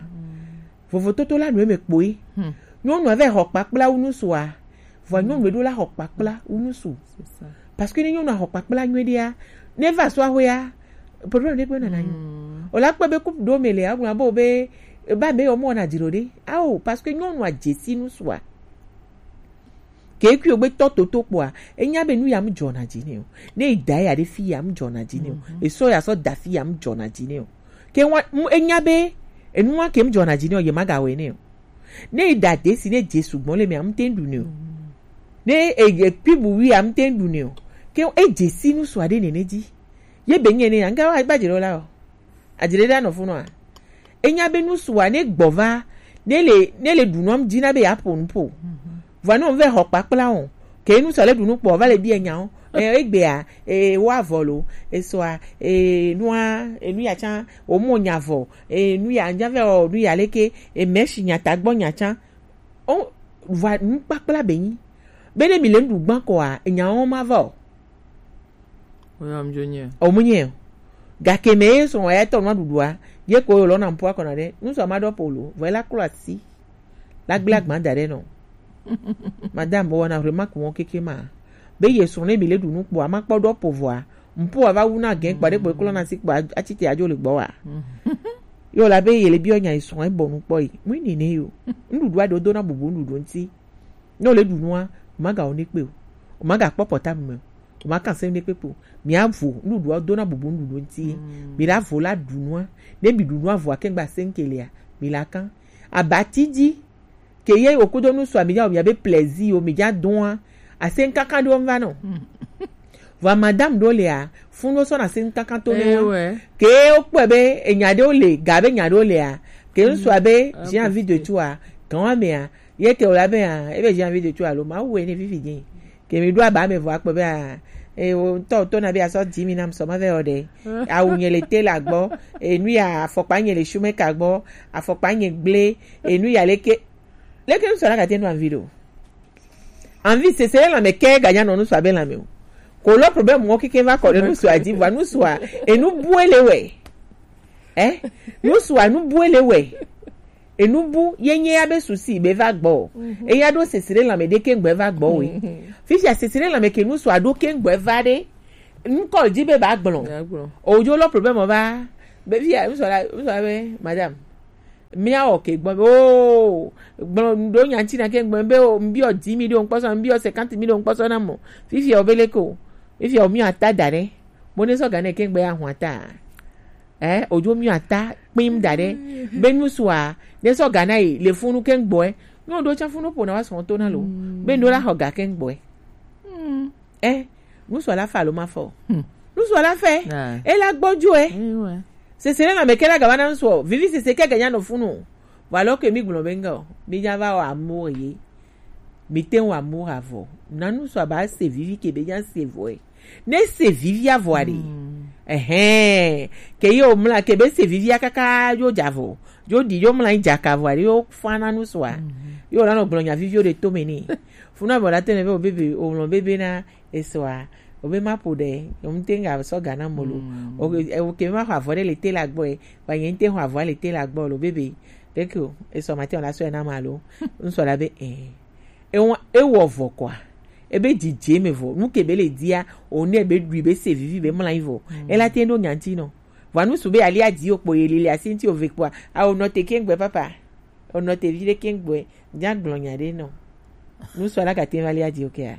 Vovototo la nu eme kpoe. Hmm. Nyɔnua vɛ xɔ kpakpla wu nusu a. Vɔa nyɔnu ɖo la xɔ kpakpla wu nusu. C'est ça. Parce que ne nyɔnua xɔ kpakpla nyuie ɖia, ne va so axɔea, problème ɖe kpe nana nyo. Hmm. O la kpe be couple ɖo me le agblɔ abo be ba me o mo na dzro ɖe. Ao, parce que nyɔnua dzesi nusua. Ke kui ogbe tɔ toto kpoa, enya be nu ya mu dzɔna dzi ne o. Ne yi da ya ɖe fi ya mu dzɔna dzi ne o. Mhm. Esɔ ya sɔ da fi ya mu dzɔna dzi ne o. Ke wa mu enya be enu wa ke mu dzɔna dzi ne o, ye ma ga wɛ ne o. Ne yi da de si ne dze sugbɔ le me am te ɖu ne o. Ne e, e kpi bu wi am te ɖu ne o. Ke e dze si nu sua ɖe nene dzi. Ye be nye ne ya nga wa gba dzi ɖo la o. Adzre ɖe anɔ funua. Enya be nusua ne gbɔ va, ne le, ne le ɖu nua dzi na be ya ƒo nu ƒo. Vɔa ne wo vɛ xɔ kpakpla o. Ke nusua le ɖu nu kpɔ va le bia nya o. E, egbea, e, wa vɔ lo, esɔa, e, nua, e, nu ya tsã, o mo nya vɔ, e, nu ya nya vɛ o, nu ya leke, e, mɛshi nya ta gbɔ nya tsã. O, vɔa nu kpakpla be nyi. Be ne mi le nu ɖu gbã kɔa, enya wo ma va o. Oya mjo nye. O mu nye. Gake me ye sɔn ya tɔ nua ɖuɖua, ye ko yo lɔ na mpua kɔna ɖe. Nusua ma ɖɔ polo, vɔ la klo asi. La gblẽ agba da ɖe nɔ. Madame, wɔna remarque wɔn keke ma. Be ye srɔ̃ ne mi le ɖu nu kpɔ, ama kpɔ ɖɔ po vɔa. Mpo ava wu na gɛn kpa ɖe kpɔ klɔ na si kpa atite adzo le gbɔ wa. Yo la be ye le biɔ nya srɔ̃ e bɔ nu kpɔ yi. Mu ni ne yo. Nuɖuɖu aɖewo do na bubu nuɖuɖu ŋuti. Ne wole ɖu nua, o ma ga wo ne kpe o. O ma ga kpɔ pɔta me o. O ma kan se ne kpe kpe o. Mi avo nuɖuɖua do na bubu nuɖuɖu ŋuti. Mi la vo la ɖu nua. Ne mi ɖu nua voa kengba se ŋke lea, mi la kan. Abati dzi. Ke ye okudo nu sua mi ja o mi abe plaisir o mi ja doa. Ase nkankan ɖewo va nɔ. Vɔa madame ɖewo lea, fun ɖewo sɔna se nkankan to ne wa. Ke wokpɔe be enya ɖewo le, ga be nya ɖewo lea, ke ŋsua be j'ai envie de toi, gan wa mea, ye ke wòle abe hã, ebe j'ai envie de toi alo mawu wɛ ne vivi dzi. Ke mi ɖo aba me vɔ akpɔ be hã, e wo ŋutɔ to na be asɔ dix mille nam sɔ ma vɛ o ɖe. Awu nye le tailor gbɔ, enu ya afɔkpa nye le shoemaker gbɔ, afɔkpa nye gble, enu ya leke. Leke ŋsɔ la kate nu envie ɖo. Envie sese le lãme ke ganya nɔ nusua be lãme o. Ko lɔ problème wo keke va kɔ ɖe nusua dzi, vɔa nusua, enu bu ele wɛ. Eh? Nusua nu bu ele wɛ. Enu bu ye nye ya be souci be va gbɔ. Eya ɖo sesre lãme ɖe ke ŋgbe va gbɔ we. Fifia sesre lãme ke nusua ɖo ke ŋgbe va ɖe. Ŋkɔ dzi be ba gblɔ. Ojo lɔ problème va. Be fia nusua la, nusua be madame. Míawɔ ke gbɔ be, oo, gblɔ ɖo nya ŋuti na ke gblɔ be, o, ŋbiɔ dix mille ɖo ŋkpɔsɔ, ŋbiɔ cinquante mille ɖo ŋkpɔsɔ na mɔ. Fifia o be leke o. Fifia o míɔ ata da ɖe. Mo ne sɔ ga ne ke gbe ya hu ata. Eh, ojo míɔ ata kpim da ɖe. Be nusua, ne sɔ ga na yi, le funu ke gbɔe. Nyɔ ɖo tsa funu po na wa sɔ to na lo. Be ndo la xɔ ga ke gbɔe. Eh, nusua la fa alo ma fɔ. Nusua la fɛ. Ela gbɔjo ɛ. Sese ne na me ke la gaba na nusua. Vivi sese ke ganya no funu. Vɔ alɔ ke mi gblɔ be ŋgɔ, mi nya va wɔ amour ye. Mi te wɔ amour avɔ. Na nusua ba se vivi ke be nya se vɔ ɛ. Ne se vivi avɔ aɖe. Ɛhɛn. Ke ye o mla ke be se vivi akaka yo javɔ. Yo di yo mla jaka vɔ aɖe yo fa na nusua. Yo la no gblɔ nya vivi o de to me ni. Funa bɔ la te ne be o bebe, o mlɔ bebe na esɔa, o be ma ƒo ɖe, o ŋute ŋga sɔ ga na mo lo. O ke, o ke ma xɔ avɔ ɖe le te la gbɔ e, ba nye ŋute xɔ avɔ le te la gbɔ lo bebe. Ɖeke o, esɔ ma te o la sɔ na ma lo. Ŋsɔ la be, eh. E wa, e wɔ vɔ kɔa. E be dzidze me vɔ. Nu ke be le dia, o ne be ɖui be se vivi be mla yi vɔ. E la te ɖo nya ŋti nɔ. Vɔ nu su be ali adi o kpo ye lili asi ŋti o ve kpoa. A o nɔ te ke ŋgbe papa. O nɔ te vi ɖe ke ŋgbe. Nya gblɔ nya ɖe nɔ. Nusɔ la gate va li adi o kea.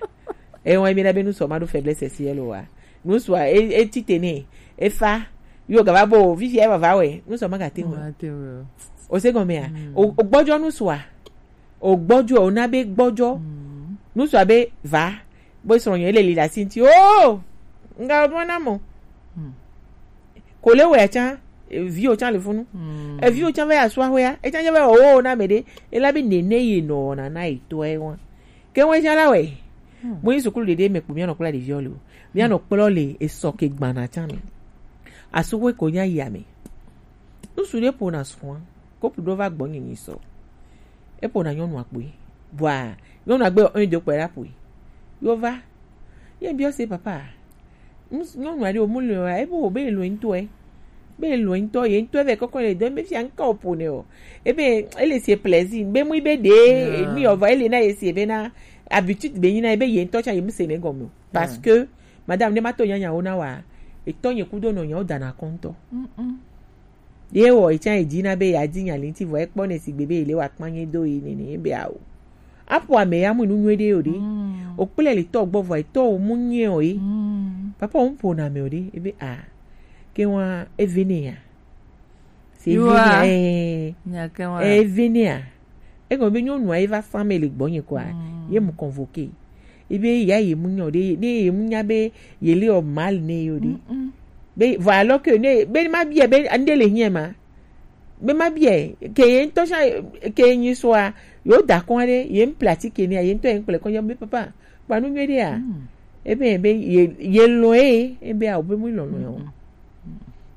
E wɔn mi na be nusɔ ma ɖo faiblesse sexuelle o wa. Nusɔ e, e ti te ne. E fa. Yo gava bo, vivi e va va wɛ. Nusɔ ma gate wɛ. O se gɔmea. O, o gbɔjɔ nusɔ a. O gbɔjɔ, o na be gbɔjɔ. Nusua be va. Bo srɔ̃ nye le li la sinti. Oh! Nga o mɔ na mo. Ko le wɛ tsa, vi o tsa le funu. E vi o tsa ve asua wɛ ya. E tsa ve o na me de. E la be nene ye no na na e to e wa. Ke wɛ tsa la wɛ. Mo yi sukulu ɖeɖe me kpo mía nɔ kpla ɖeviwo le o. Mía nɔ kplɔ le esɔ ke gbana tsa me. Asuxwe ko nya yi ame. Nusu ɖe ƒona srɔ̃a, kopu ɖo va gbɔ nye nyi sɔ. Eƒona nyɔnua kpoe. Bua, nyɔnua gbe un do kpe ɖa ƒoe. Yo va. Ye biɔ se papa. Ŋus-, nyɔnua ɖe o mu le wa, ebe o be lo ŋutɔ e. Be lo ŋutɔ, ye ŋutɔ vɛ kɔkɔ le do, ebe fia ŋka o ƒo ne o. Ebe ele se plaisir, be mu be de, mi o va ele na ye se be na habitude be nyi na ebe ye ŋutɔ tsa ye mu se ne gɔme o. Parce que madame ne ma to nyanya wo na wa, etɔ nye kudo nɔ nya wo dana kɔntɔ. Ye wɔ etsa edzi na be yeadi nya le ŋuti vɔ ekpɔ ne sigbe be yele wa kpanye do yi nene ebe awo. Aƒo ame ya mu nu nyuie ɖe o ɖe. O kple le tɔ gbɔ vɔ etɔ o mu nyuie o yi. Papa o mu ƒo na me o ɖe ebe a. Ke wa eve ne ya. Se eve ne ya. Eh. Nya ke wa. Eve ne ya. Egɔme be nyɔnua ye va sa me le gbɔnye kɔa, ye mu convoqué. Ebe ya ye mu nya o ɖe, ne ye mu nya be ye le o mal ne yo ɖe. Be vɔ alors que ne be ma bia be ande le hiɛ ma. Be ma bia ke ye ŋutɔ sa ke nyi soa yo da kɔn ɖe ye mu pratique ne ye ŋutɔ ye kple kɔn be papa kpa nu nyuie ɖe ya. Ebe be ye ye lɔ ye ebe a o be mu lɔlɔ ya o.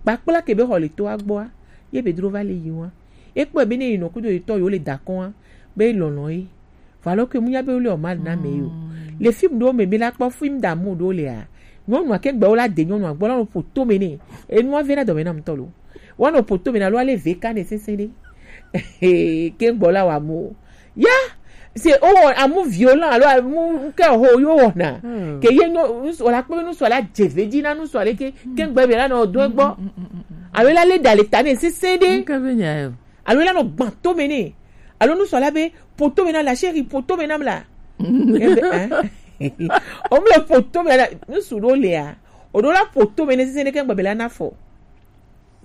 Kpakpla ke be xɔ le to agbɔa ye be dro va le yi wa. Ekpɔe be ne yi nɔ kudo yi tɔ yo le da kɔn be lɔlɔ ye. Vɔ alors que mu nya be wo le o mal na me yo. Le film ɖewo me mi la kpɔ film d'amour ɖewo lea. Nyɔnua ke gbe wo la de nyɔnua gbɔ la no poto me ne. Enua ve na dɔme na mutɔ lo. Wa no poto me na lo ale ve ka ne sese ɖe. Ke gbɔ la wa mo. Ya, se o wɔ amu violent alo amu ke ho yo wɔna. Ke ye no nusɔ la kpe nusɔ la dze ve dzi na nusɔ le ke ke gbe be la no do gbɔ. Alo la le da le ta ne sese ɖe. Nke be nya yo. Alo la nɔ gbã to me nɛ. Alo nusɔla be ƒo to me na la chérie, ƒo to me na la. Ebe, hein? O mle ƒo to me na nusu ɖo lea. O ɖo la ƒo to me ne sese ne ke ŋgbe be la na fɔ.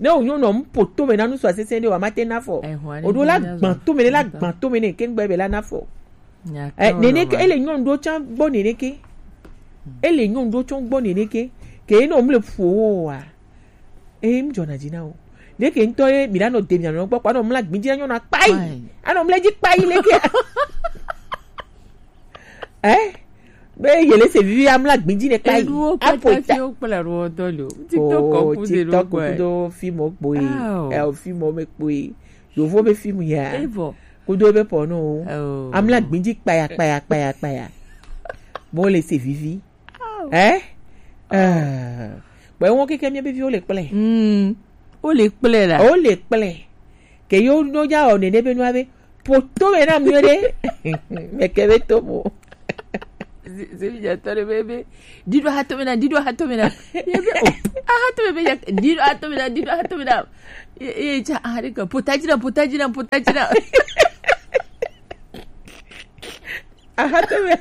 Ne o nyɔnu o mu ƒo to me na nusu a sese ne wa ma te na fɔ. O ɖo la gbã to me ne la gbã to me ne ke ŋgbe be la na fɔ. Eh, nene ke ele nyɔnu ɖo tsã gbɔ nene ke. Ele nyɔnu ɖo tsã gbɔ nene ke. Ke ne o mle ƒo o wa. Ee, ŋdzɔna dzi na wo. Leke ŋutɔ ye mi la nɔ de mia nɔ gbɔ kpɔ anɔ mla gbidzi na nyɔna kpai. Anɔ mla dzi kpai leke. Eh? Be yele se vivi amla gbidzi ne kpai. Eɖuwo kpata fi wo kple ɖuwo dɔ le o. TikTok kɔ kudo ɖo kpɔe. Kudo film kpɔe. Eh, film me kpɔe. Yovo be film ya. Evo. Kudo be porno. Amla gbidzi kpaya kpaya kpaya kpaya. Mo le se vivi. Eh? Eh. Kpɛ wɔn keke mía be viwo le kplɛ. Mm. Wo le kplɛ la. Wo le kplɛ. Ke yo no ja o nene be nua be. Poto me na mue de. Me ke be to mo. Zebi ja tɔ de be be. Dido ha to me na, dido ha to me na. Ye be o. Aha to me be ya. Dido ha to me na, dido ha to me na. Ye ye ja aha de ka. Potaji na, potaji na, potaji na. Aha to me.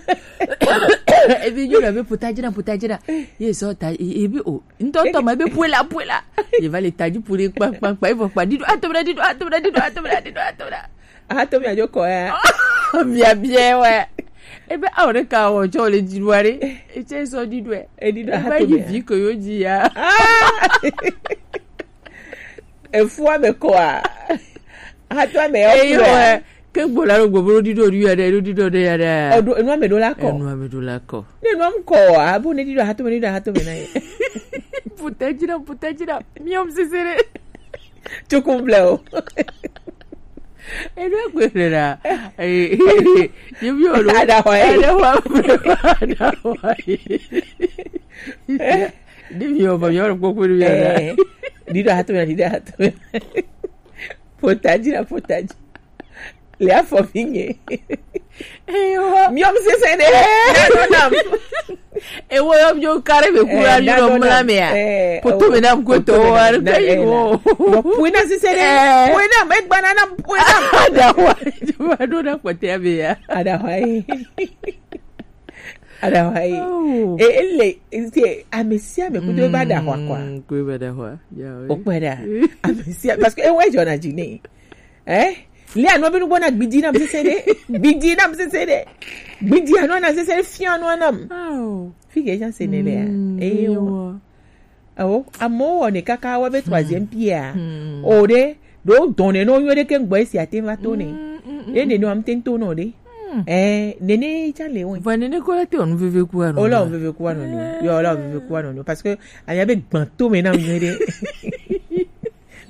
Ebi nyɔnu be puta dzina puta dzina. Ye sɔ ta ebi o. Ntɔ tɔ ma be puela puela. Ye va le ta dzi pure kpa kpa kpa. Evo kpa dido atomra dido atomra dido atomra dido atomra. Aha to me ajo ko ya. Bia bia wa. Ebe awo ɖe ka wɔ tsɔ le dziɖua ɖe. Etse sɔ didoe. Edido aha to me. Ebe yi vi ko yo dzi ya. Efua me kɔa. Aha to me ya. Eyo. Ke gbola ɖo gbogbo ɖo ɖiɖo ɖi ya ɖe ɖo ɖiɖo ɖe ya ɖe. Ɔɖo enua me ɖo la kɔ. Enua me ɖo la kɔ. Ne enua mu kɔ wa abo ne ɖiɖo ahatome ɖiɖo ahatome na ye. Puta dzina puta dzina miɔm sese ɖe. Tsuku ble o. Enua gbe hle la. Yebi o ɖo. Aɖaxɔ ye. Aɖaxɔ aɖaxɔ ye. Ɖe miɔ bɔ miɔ ɖo kpokpo ɖe miɔ ɖa. Ɖiɖo ahatome na ɖiɖo ahatome. Puta dzina puta dzina. Le afɔ fi nye. Ewa. Miɔm sese ɖe. Nanu nam. Ewo yɔ mi kare be kura mi nɔ mla mea. Poto me nam ko to wa pe yi wo. Pui na sese ɖe. Pui na me gbana na pui na. Ada wa. Ma do na kpɔtɛ be ya. Ada wa yi. Ada wa yi. E ele e ame sia ame kudo ba da wa kwa. Ko ba da wa. Ya. O kpɛ da. Ame sia parce que e wa jɔ na dzi ne. Eh? Lia no be nugbɔ na gbidi nam sese ɖe. Gbidi nam sese ɖe. Gbidi anɔ na sese ɖe fia no nam. Fi ke jan se ne le ya. Eyo. Awo, amewo wɔnɛ kaka wobe troisième pierre. O ɖe, ɖo dɔnɛ no nyo ɖe ke ŋgbɔ esi ate va to ne. Ye ne no am te to no ɖe. Eh, nene tsa le wo. Vɔ nene ko la te onu veve ku ano. Ola onu veve ku ano ni. Yo, ola onu veve ku ano ni. Parce que anya be gbanto me na mi de.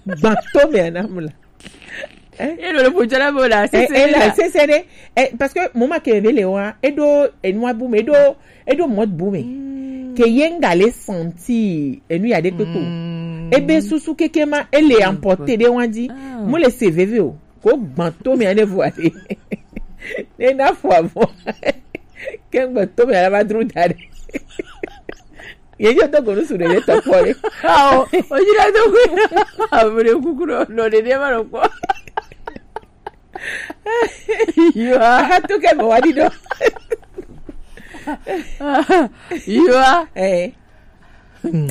Gbanto me na mula. Eh? E lo le po jala bo la, eh, sese eh, la, la. Sese de. Eh, parce que mo ma ke be le wa, e do, e nwa bu me, e do, e do mot bu me. Ke yenga le senti, e nu ya de kpekpe o. E be susu keke ma, e le emporter de wan di. Mo le se veve o. Ko gbanto me ane vo ade. Ne na fo avo. Ke gbanto me ala ba dru dade. Ye yo to gonu su de le to ko le. Ao, o ji da to ko. Avure kukuro no de de ma lo ko. Yo. Ha to ke mo wa di do. Yo. Eh.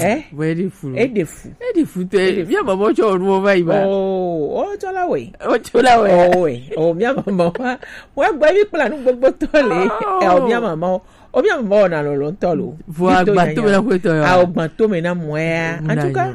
Eh? Vɔ e ɖe fu. E ɖe fu. E ɖe fu tɛ. E ɖe fu. Mía mama tsɔ nu va yi ba. Oh, o tsɔ la wɛ. O tsɔ la wɛ. Oh wɛ. Oh, mía mama wa. Wa gba mi kpla nu gbogbo tɔ le. Oh. Eh, o mía mama o. O mía mama o na lɔlɔ tɔ lo. Vɔ agba to me na ko tɔ ya. A o gba to me na mɔ ya. En tout cas,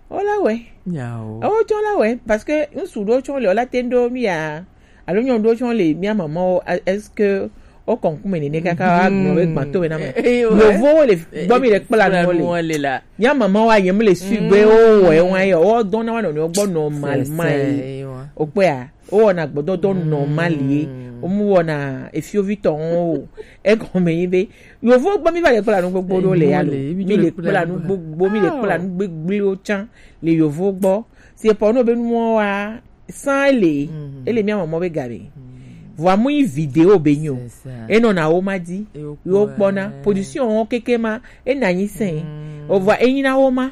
o la wɛ. Nya o. O tsɔ la wɛ parce que n su do tsɔ le o la te ndo mi ya. Alo nyɔnu ɖewo tsɔ le mía mamawo, a- est-ce que wo kɔnkume nene kaka wa gblɔ be gbanto be na me? Eh, eh, ouais. Yovowo le gbɔ mi le kpla nu le. Kpla nu le la. Mía mamawo a yem le su be wo wɔ ye wa ye, wo dɔn na wa nɔnɔewo gbɔ normal ma ye. O kpea, wo wɔna gbɔdɔdɔ normal ye. Wo mu wɔna efiovi tɔ o. Egɔme yi be yovo gbɔ mi va le kpla nu gbogbo ɖo le ya lo. Mi le kpla nu gbogbo, mi le kpla nu gbegbliwo tsã le yovo gbɔ. C'est pour nous be nuwo wa San ele, ele mía mɔ mɔ be ga be. Vɔa mu yi video be nyo. E nɔ na wo ma di. Yo kpɔna position wo keke ma, e na nyi sɛn. O vɔa e nyi na wo ma.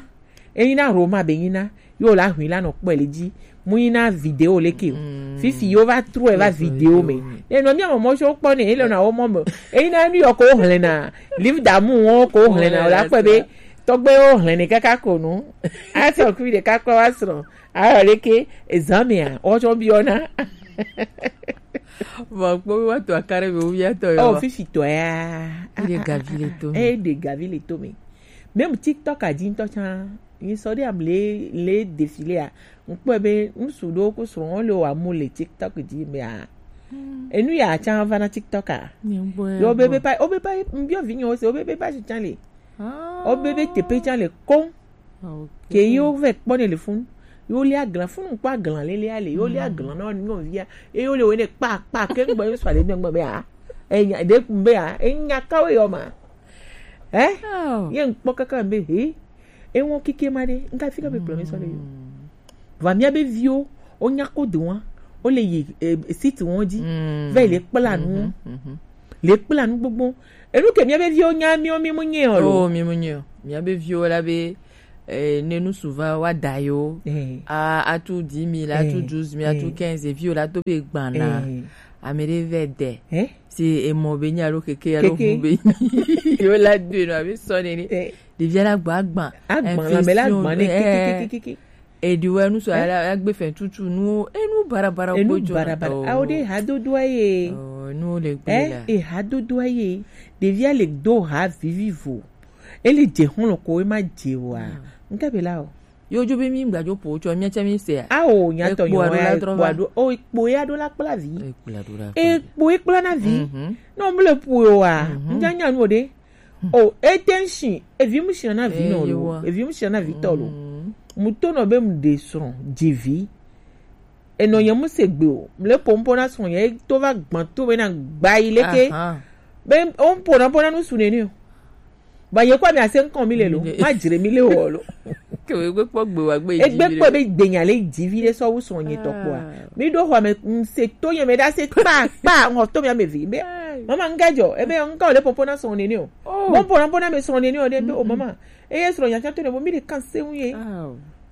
E nyi na Roma be nyi na. Yo la hui la nɔ kpɔ le di. Mu nyi na video le ke o. Fifi yo va true va video me. E nɔ mía mɔ mɔ so kpɔ ne, e le na wo mɔ me. E nyi na nu yo ko hlena. Livre d'amour wo ko hlena, o la kpɔ be tɔgbe wo hlene kaka ko nu. A sɔ kui de kaka wa srɔ̃. Ayo ɖeke ezamea, wotsɔ biɔna. Vɔ kpɔ be woatɔ akare be woviatɔ yɔ. Oh, fifi tɔ ya. Eɖe gavi le to me. Eɖe gavi le to me. Même TikTok a dzi ŋutɔ tsã, mi sɔ ɖe am le le défilé a. Ŋkpɔe be ŋsu ɖewo ko srɔ̃wo le wa mo le TikTok dzi mea. Enu ya tsã va na TikTok a. Yo be be pa, o be pa, mbiɔ vinyewo se, o be be pa tsã le. O be be tepe tsã le koŋ. Ke ye wo vɛ kpɔ ne le funu. Ye wo lia glan funu kpɔ aglan lele ale. Ye wo lia glan na nyɔnuvia. Ye wo le wo ne kpa kpa ke ŋgbɔ ye sɔ ale nyɔnugbe be a. Enya de kun be a. Enya kawo yɔ ma. Eh? Ye ŋkpɔ kaka be he. E wɔn kike ma de. Ŋka fi ka be kplɔ mi sɔ le yo. Vɔ mía be viwo, wo nya ko do wa. Wo le yi eh, site wɔn dzi. Vɛ le kpla nu. Le kpla nu gbogbo. Enu ke mía be viwo nya mí mi mu nye o lo. Oh, mi mu nye o. Mía be viwo la be eh, ne nu suva wa da yo. Eh. A atu dix mille, atu douze mille, atu quinze, viwo la to be gbana. Ame ɖe vɛ de. Eh? Si emɔ be nya lo keke ya lo hu be. Yo la do no abi sɔ ne ni. Ɖevia la gba agban. Agban la me la agban ne kiki kiki kiki. Eɖiwɛ nu sɔ ala agbe fɛn tutu nu enu barabara. Enu barabara. Awo de hadodoa ye. Nu le gbe la. E hadodoa ye. Ɖevia le do ha vivivo. Ele dze xɔlɔ ko ema dze wa. Nka be la o. Yo jo be mi gba jo po cho mi cha mi se. Awo nya to yo wa. Ekpo ado o ekpo ya do la kpla vi. Ekpo e kpla na vi. No mle po yo wa. Nya nya nu de. O, e te ŋshi, evi mu shina na vi nɔ lo, evi mu shina na vi tɔ lo. Mu to nɔ be mu de srɔ̃, dzi vi. Enɔ nye mu se gbe o, mu le pompo na srɔ̃ nye, e to va gbã to be na gba yi leke. Be o mu pona pona nu su nene o. Ba ye kwa mi ase nkɔ mi le lo, ma dzre mi le o lo. Ke wo gbe kpɔ gbe wa gbe. Egbe kpɔ be gbenya le dzi vi le sɔ wu srɔ̃ nye tɔ kpɔa. Mi do xɔ me, se to nye me da se kpa kpa, ŋɔ to mi ame vi be. Mama, ŋga dzɔ, ebe ŋga o le pompo na srɔ̃ nene o. Bon, pona pona me srɔ̃ nene o de be o mama. Eye srɔ̃ nya tsa to ne bo mi de kanse ŋu ye.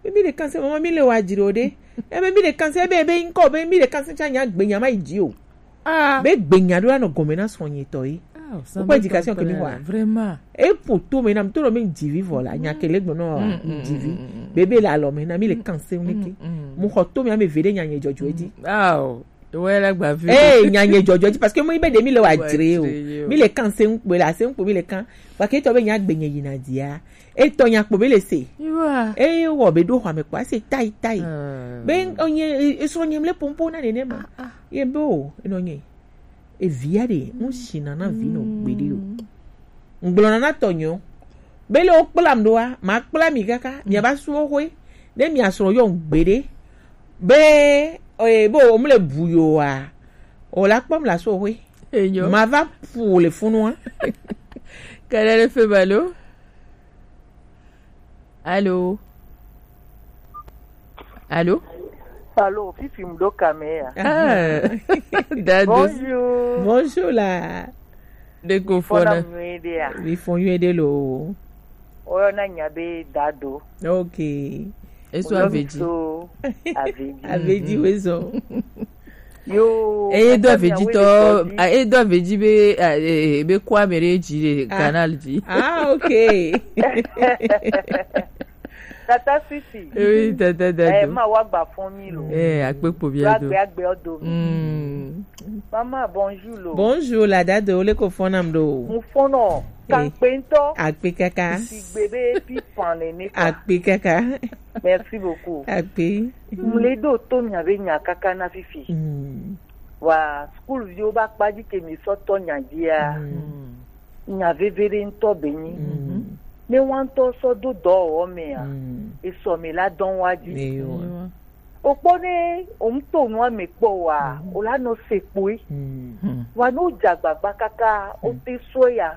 Be mi de kanse mama mi le wa dzro de. Ebe mi de kanse ebe ebe ŋkɔ be mi de kanse tsa nya gbe nya ma yi dzi o. Be gbe nya do la nɔ gɔme na srɔ̃ nye tɔ ye. Wokpɔ éducation ke mi wa. Vraiment. E po to me na mi to nɔ mi dzi vi vɔ la nya ke le gbɔ nɔ dzi vi. Bebe le alɔ me na mi le kanse ŋu ke. Mu xɔ to mi ame ve de nya nye dzɔdzɔ dzi. Wɔ la gba vi. Eh, nya nye dzɔdzɔ dzi parce que mo be de mi le wa dzre o. Mi le kan se ŋkpe la se ŋkpe mi le kan. Parce que to be nya gbe nye yina dia. E to nya kpo be le se. Eh, wo be do xɔ me kpa se tai tai. Be onye e so nyem le pompo na nene ma. Ye be o, no nye. Evia ɖe, ŋu sina na vi nɔ gbeɖe o. Ŋgblɔna na tɔnyɔ. Be le wo kplam ɖoa, ma kpla mi kaka, mi aba su wo xwe. Ne mi asrɔ yɔ gbeɖe. Be, eh, bo, o mle bu yo wa. O la kpɔm la su wo xwe. Enyo. Ma va pu le funua. Kɛlɛ le fe ba lo. Allô? Allô? Allô, fifi m ɖo kame ya. Ah, Dado. Bonjour. Bonjour la. De ko fona. Fona nyuie de ya. Mi fo nyuie de lo. Oyo na nya be Dado. Ok. Eso Oyo mi Aveji. So Aveji. Aveji wezo. Yo, eye do aveji tɔ, a, eye do aveji be, a, e, e, be kɔ ame ɖe dzi ɖe canal dzi. Ah, ok. Tata Sisi. Oui, tata Dado. Eh, ma wa gba fɔn mi lo. Eh, akpe kpo bia do. Agbe agbe o do mi. Mm. Mama, bonjour lo. Bonjour la Dado, le ko fɔn nam do. Mo fɔn no. Kan pe nto. Akpe kaka. Sigbe be pi pan ne ne kwa. Akpe kaka. Merci beaucoup. Akpe. Mle ɖo to mia be nya kaka na fifi. Mm. Wa school viwo ba kpa dzi ke mi sɔ tɔ nya dzia. Mm. Nya veve ɖe ŋutɔ be nyi. Mm. Ne wa ŋutɔ sɔ do dɔwɔwɔ mea, mm, esɔ mi la dɔn wa dzi. Eyo. Okpɔ ne o ŋutɔ nua me kpɔ wa, mm, o la nɔ se kpoe. Mm. Wa no dza gbagba kaka, o te sɔ ya,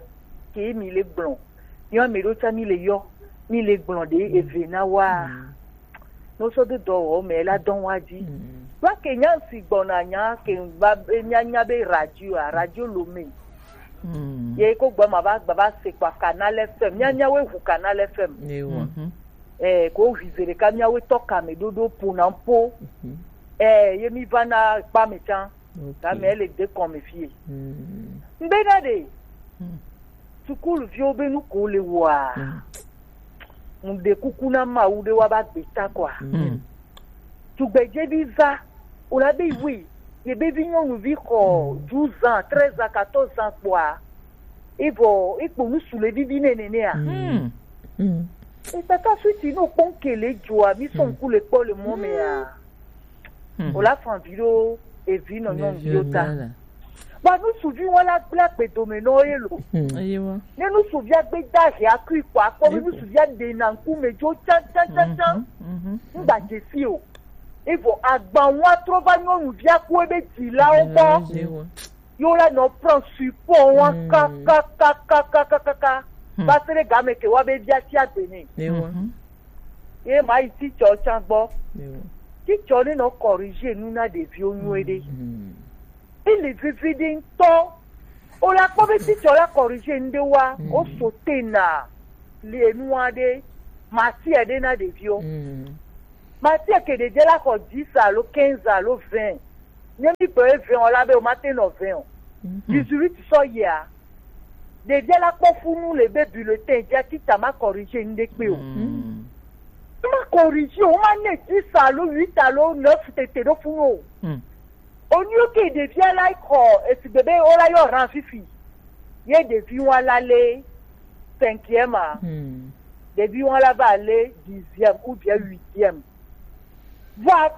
ke mi le gblɔ. Yɔ mi ɖo tsa mi le yɔ, mi le gblɔ ɖe eve na wa. Mm. No sɔ do dɔwɔwɔ me la dɔn wa dzi. Mm. Wa ke nya si gbɔna nya ke ba be mia nya be radio a, radio lo me. Mm. Ye ko gbɔ ma ba, ba, ba se kpa Canal F M. Mia, mia we hu Canal F M. Ewa. Mhm. Eh, ko hu zere ka mia we tɔ kame dodo po na po. Mhm. Eh, ye mi va na kpa me tsan. Ok. Game ele de kɔme fie. Mm. Ŋbe na ɖe. Mm. Sukulu viwo be nu ko le wɔa. Mm. Ŋde kuku na Mawu ɖe wa ba gbe ta kɔa. Mm. Tugbedze bi va, o la be iwe, ye be vi nyɔnuvi xɔ douze ans, treize ans, quatorze ans kpɔa. Evɔ, ekpo nu su le vivi nene nea. Mm. Mm. Etata suti no kpɔn kele dzoa, mi sɔn ku le kpɔ le mɔ mea. Hmm. O la fan vi ɖo evi nɔ nyɔnuviwo ta. Vɔ nusuvi wɔn la gblẽ agbe dome nɔ ye lo. Hmm. Eye wa. Ne nusuvia gbe da hia kui kɔ akpɔ be nusuvia ɖe na ŋkume dzo tsan tsan tsan tsan. Mhm, mhm. Ŋgba dze si o. Evɔ agban wa trɔ va nyɔnuvia ku ebe dzilawo gbɔ. Dzilawo gbɔ. Yo la nɔ prend support wa kaka kaka kaka kaka. Hmm. Va se ɖe game ke wa be via tia gbe ne. Ewa. Mhm. Ye ma yi teacher tsan gbɔ. Ewa. Teacher ne nɔ corriger nu na ɖeviwo nyuie ɖe. Mhm. Ele veve ɖe ŋutɔ. O la kpɔ be teacher la corriger nu ɖe wa, o so te na le nu aɖe, matière ɖe na ɖeviwo. Mm. Matière ke ɖe dze la xɔ dix alo quinze alo vingt. Nye mi be vingt o la be o ma te nɔ vingt o. Mhm. Dix-huit sɔ yia. Ɖevia la kpɔ funu le be bulletin dzia tita ma corriger nu ɖe kpe o. Mm. Ma corriger o, ma ne dix alo huit alo neuf tete ɖo funu o. Mm. Onyo ke ɖevia la xɔ esigbe be o la yɔ ran fifi. Ye ɖevi wa la le cinquième a. Mm. Ɖevi wa la va le dixième ou bien huitième. Va,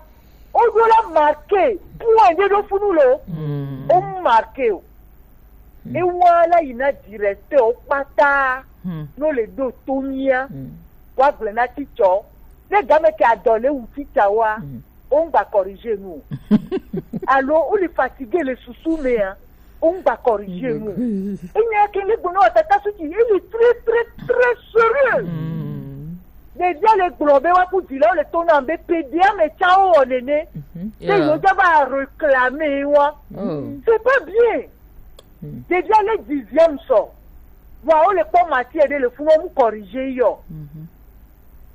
o ɖo la marqué point ɖe ɖo funu lo. Mm. O marqué o. Mm. E wa la yi na directeur o kpata. Mm. No le ɖo to mia. Mm. Wa gblẽ na teacher. Ne game ke adɔ le wu teacher wa. Mm. O ŋgba corriger nu o. Alo o le fatigué le susu me a. O ŋgba corriger nu. Enya ke le gbɔna wa tata suti, il est très, très, très sérieux. Mm. Ɖevia le gblɔ be wa ku dzilawo le to na be pe ɖevia me tsa wo wɔ nene. Mhm. Te yo dza va réclamer wa. Oh. C'est pas bien. Mm. Ɖevia le dixième sɔ. Wa o le kpɔ matière ɖe le funu o mu corriger yɔ. Mhm.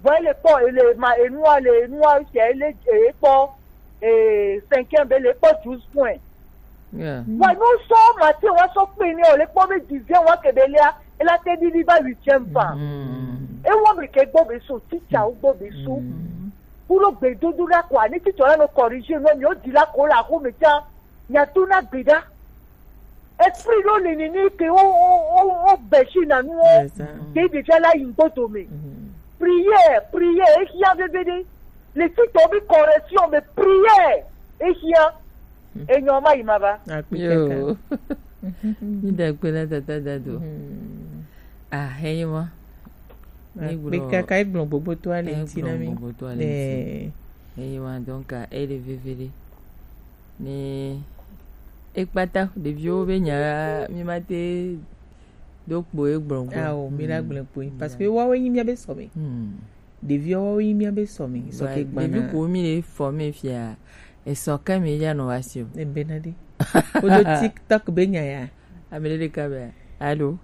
Vɔ ele kpɔ, ele ma, enua le, enua sia ele, ele kpɔ, eh, cinquième be le kpɔ douze points. Yeah. Vɔ no sɔ matière wa sɔ kpe ne o le kpɔ be dixième wa ke be lea, ela te ɖiɖi va huitième fa. Mm. E wɔ mi ke gbɔ be so, teacher wo gbɔ be so. Mm. Kulo gbe dodo la kɔ, ani teacher la no corriger no, mi o di la ko la ko me tsa. Miato na gbe ɖa. Esprit ɖo le nene ke wo, wo, wo, wo bɛsi na nu wo. Yes, sir. Ke ɖevia la yi ŋgbo dome. Mhm. Prière, prière, ehia veve ɖe. Le titre be correction, mais prière, ehia. Enyo ma yi ma ba. Akpe kaka. Yo. Mi da kpe na tata dado. Ah, enyi ma. Ni gblɔ. Akpe kaka, egblɔ gbogbo to ale ŋuti na mi. Egblɔ gbogbo to ale ŋuti. Eh. Enyi ma, donc, ele vevele. Ni ekpata ɖeviwo be nya mi ma te do kpo egblɔ gbɔ. Awo, mi la gblɔ kpo. Parce que wawo nyi mia be sɔme. Hmm. Ɖeviwo woawo nyi mía be sɔme, sɔ ke gbana. Ɖevi ko mi le fɔ me fia, esɔ ke mi ya nɔ wa si o. Ebe na ɖe. Wodo TikTok be nya ya. Ame ɖe ɖeka be, allô?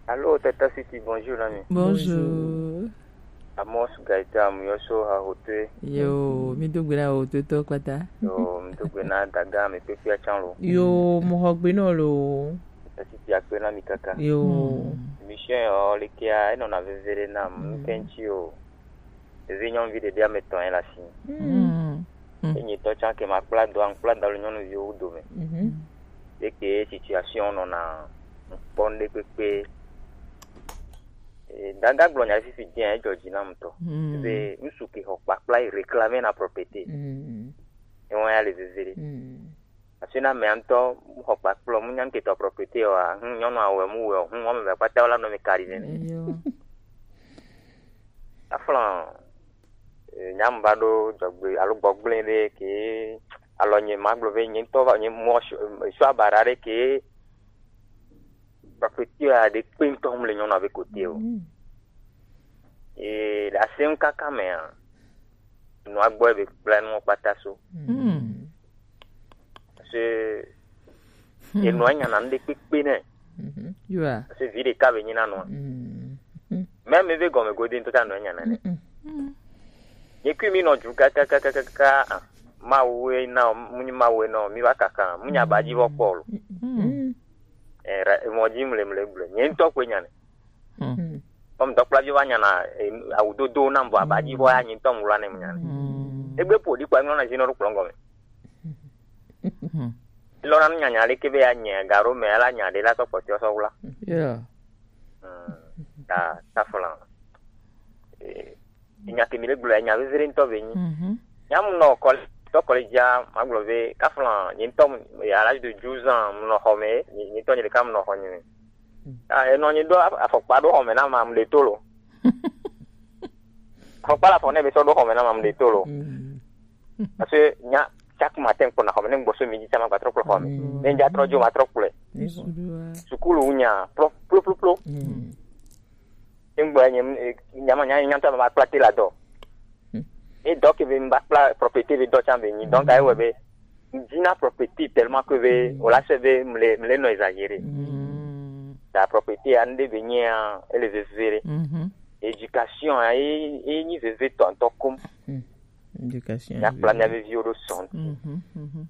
Allô, Tata City, bonjour, ami. Bonjour. Amos Gaëtan, Amuyoso, Hahotoe. Yo, mi do gbe na Hahotoetɔ kpata. Yo, mi do gbe na daga, mi kpekpe atsan lo. Yo, mo xɔ gbe nɔ lo. Tata City akpe na mi kaka. Yo. Émission yɔ, lekea, enɔna veve ɖe nam, mm, ŋutɛ ŋuti o. Ɖevi nyɔnuvi ɖeɖi ame etɔ̃ ye le asi. Mm. Mm. Enyi tɔ tsã ke ma kpla do, aŋkpla da le nyɔnuviwo dome. Mhm. Eke situation nɔna ŋkpɔ ŋɖe kpekpe. Eh, daga gblɔ nya fifi dzi, edzɔ dzi nam ŋutɔ. Mm. Be ŋsu ke xɔ kpakpla yi réclamer na propriété. Mm. Ewa ya le veve ɖe. Mm. Asi na amea ŋutɔ xɔ kpakplɔ, mu nya ŋke tɔ propriété wa, hm, nyɔnu awɔe mu wɔ, hm, wɔme eve kpata wala nɔ mi kari nɛ. Eyo. Aflɔ, eh, nyam ba ɖo dzɔgbe alo gbɔgblẽ ɖe ke alɔ nye ma gblɔ ve nye ŋutɔ va nye mɔ sɔ, sɔ abara ɖe ke propriété a ɖe kpe ŋutɔ mu le nyɔnua be kote o. Mm. Ye le asem kaka mea, nua gbɔ be kple nua kpata so. Mm. Parce que enua nyana ŋɖe kpekpe nɛ. Mhm. Yua. Parce que vi ɖeka be nyi na nua. Mm. Même eve gɔme gode ŋutɔ ta nua nyana nɛ. Mm-mm. Nye kui mi nɔ du kakakakaka, ah, Mawu ye na o, mu nyi Mawu ye na o, mi va kaka, mu nya ba dzi vɔ kpɔ lo. Mm. Eh, ra-, emɔ dzi mle, mle, mle. Nye ŋutɔ koe nya nɛ. Mm. Comme dɔkplaviwo va nyana, eh, awudodo nam vɔ aba dzi vɔ ya nye ŋutɔ mu wla ne mu nya nɛ. Mm. Egbe ƒo ɖi kpa ŋlɔ na zi nɔ ɖo kplɔ gɔme. Mm. Lɔ na nu nyanya ɖe ke be ya nye garo me ala nya ɖe la sɔ kpɔtɔ sɔ wla. Yeah. Mm. Ta, ta flan. Eh, nya ke mi le gblɔ, nya vevere ŋutɔ be nyi. Mhm. Nya mu nɔ kɔle, tɔ kɔle dzia, ma gblɔ be, kafla, nye ŋutɔ mu, à l'âge de douze ans, mu nɔ xɔ me, nye, nye ŋutɔ nye ɖeka mu nɔ xɔ nye me. Mm. Ah, enɔ nyi do af-, afɔkpa ɖo xɔ me na ma, mu le to lo. Afɔkpa la fɔ ne be sɔ ɖo xɔ me na ma, mu le to lo. Mm. Parce que nya, chaque matin, kpɔna xɔ me, ne gbɔso mi dzi, ma gba trɔ kplɔ xɔ me. Mm. Ne dza trɔ dzo, ma trɔ kplɔe. Yes. Sukulu nya, plɔ, plɔ, plɔ, plɔ. Mm. Eŋgbe nye, eh, nyama nya, nya ŋutɔ ma kpla te la dɔ. Hmm. E dɔ ke be mba kpla propriété be dɔ tsã be nyi. Donc, ayi wɔ be, dina propriété tellement que be, hmm, o la se be, mle, mle nɔ exagéré. Hmm. Ta propriété, ande be nyi, a, ele veve ɖe. Mhm. Éducation, a, e, e nyi veve tɔntɔ kom. Hmm. Éducation. Nya kpla nya veviwo ɖo sɔn. Mhm, mhm.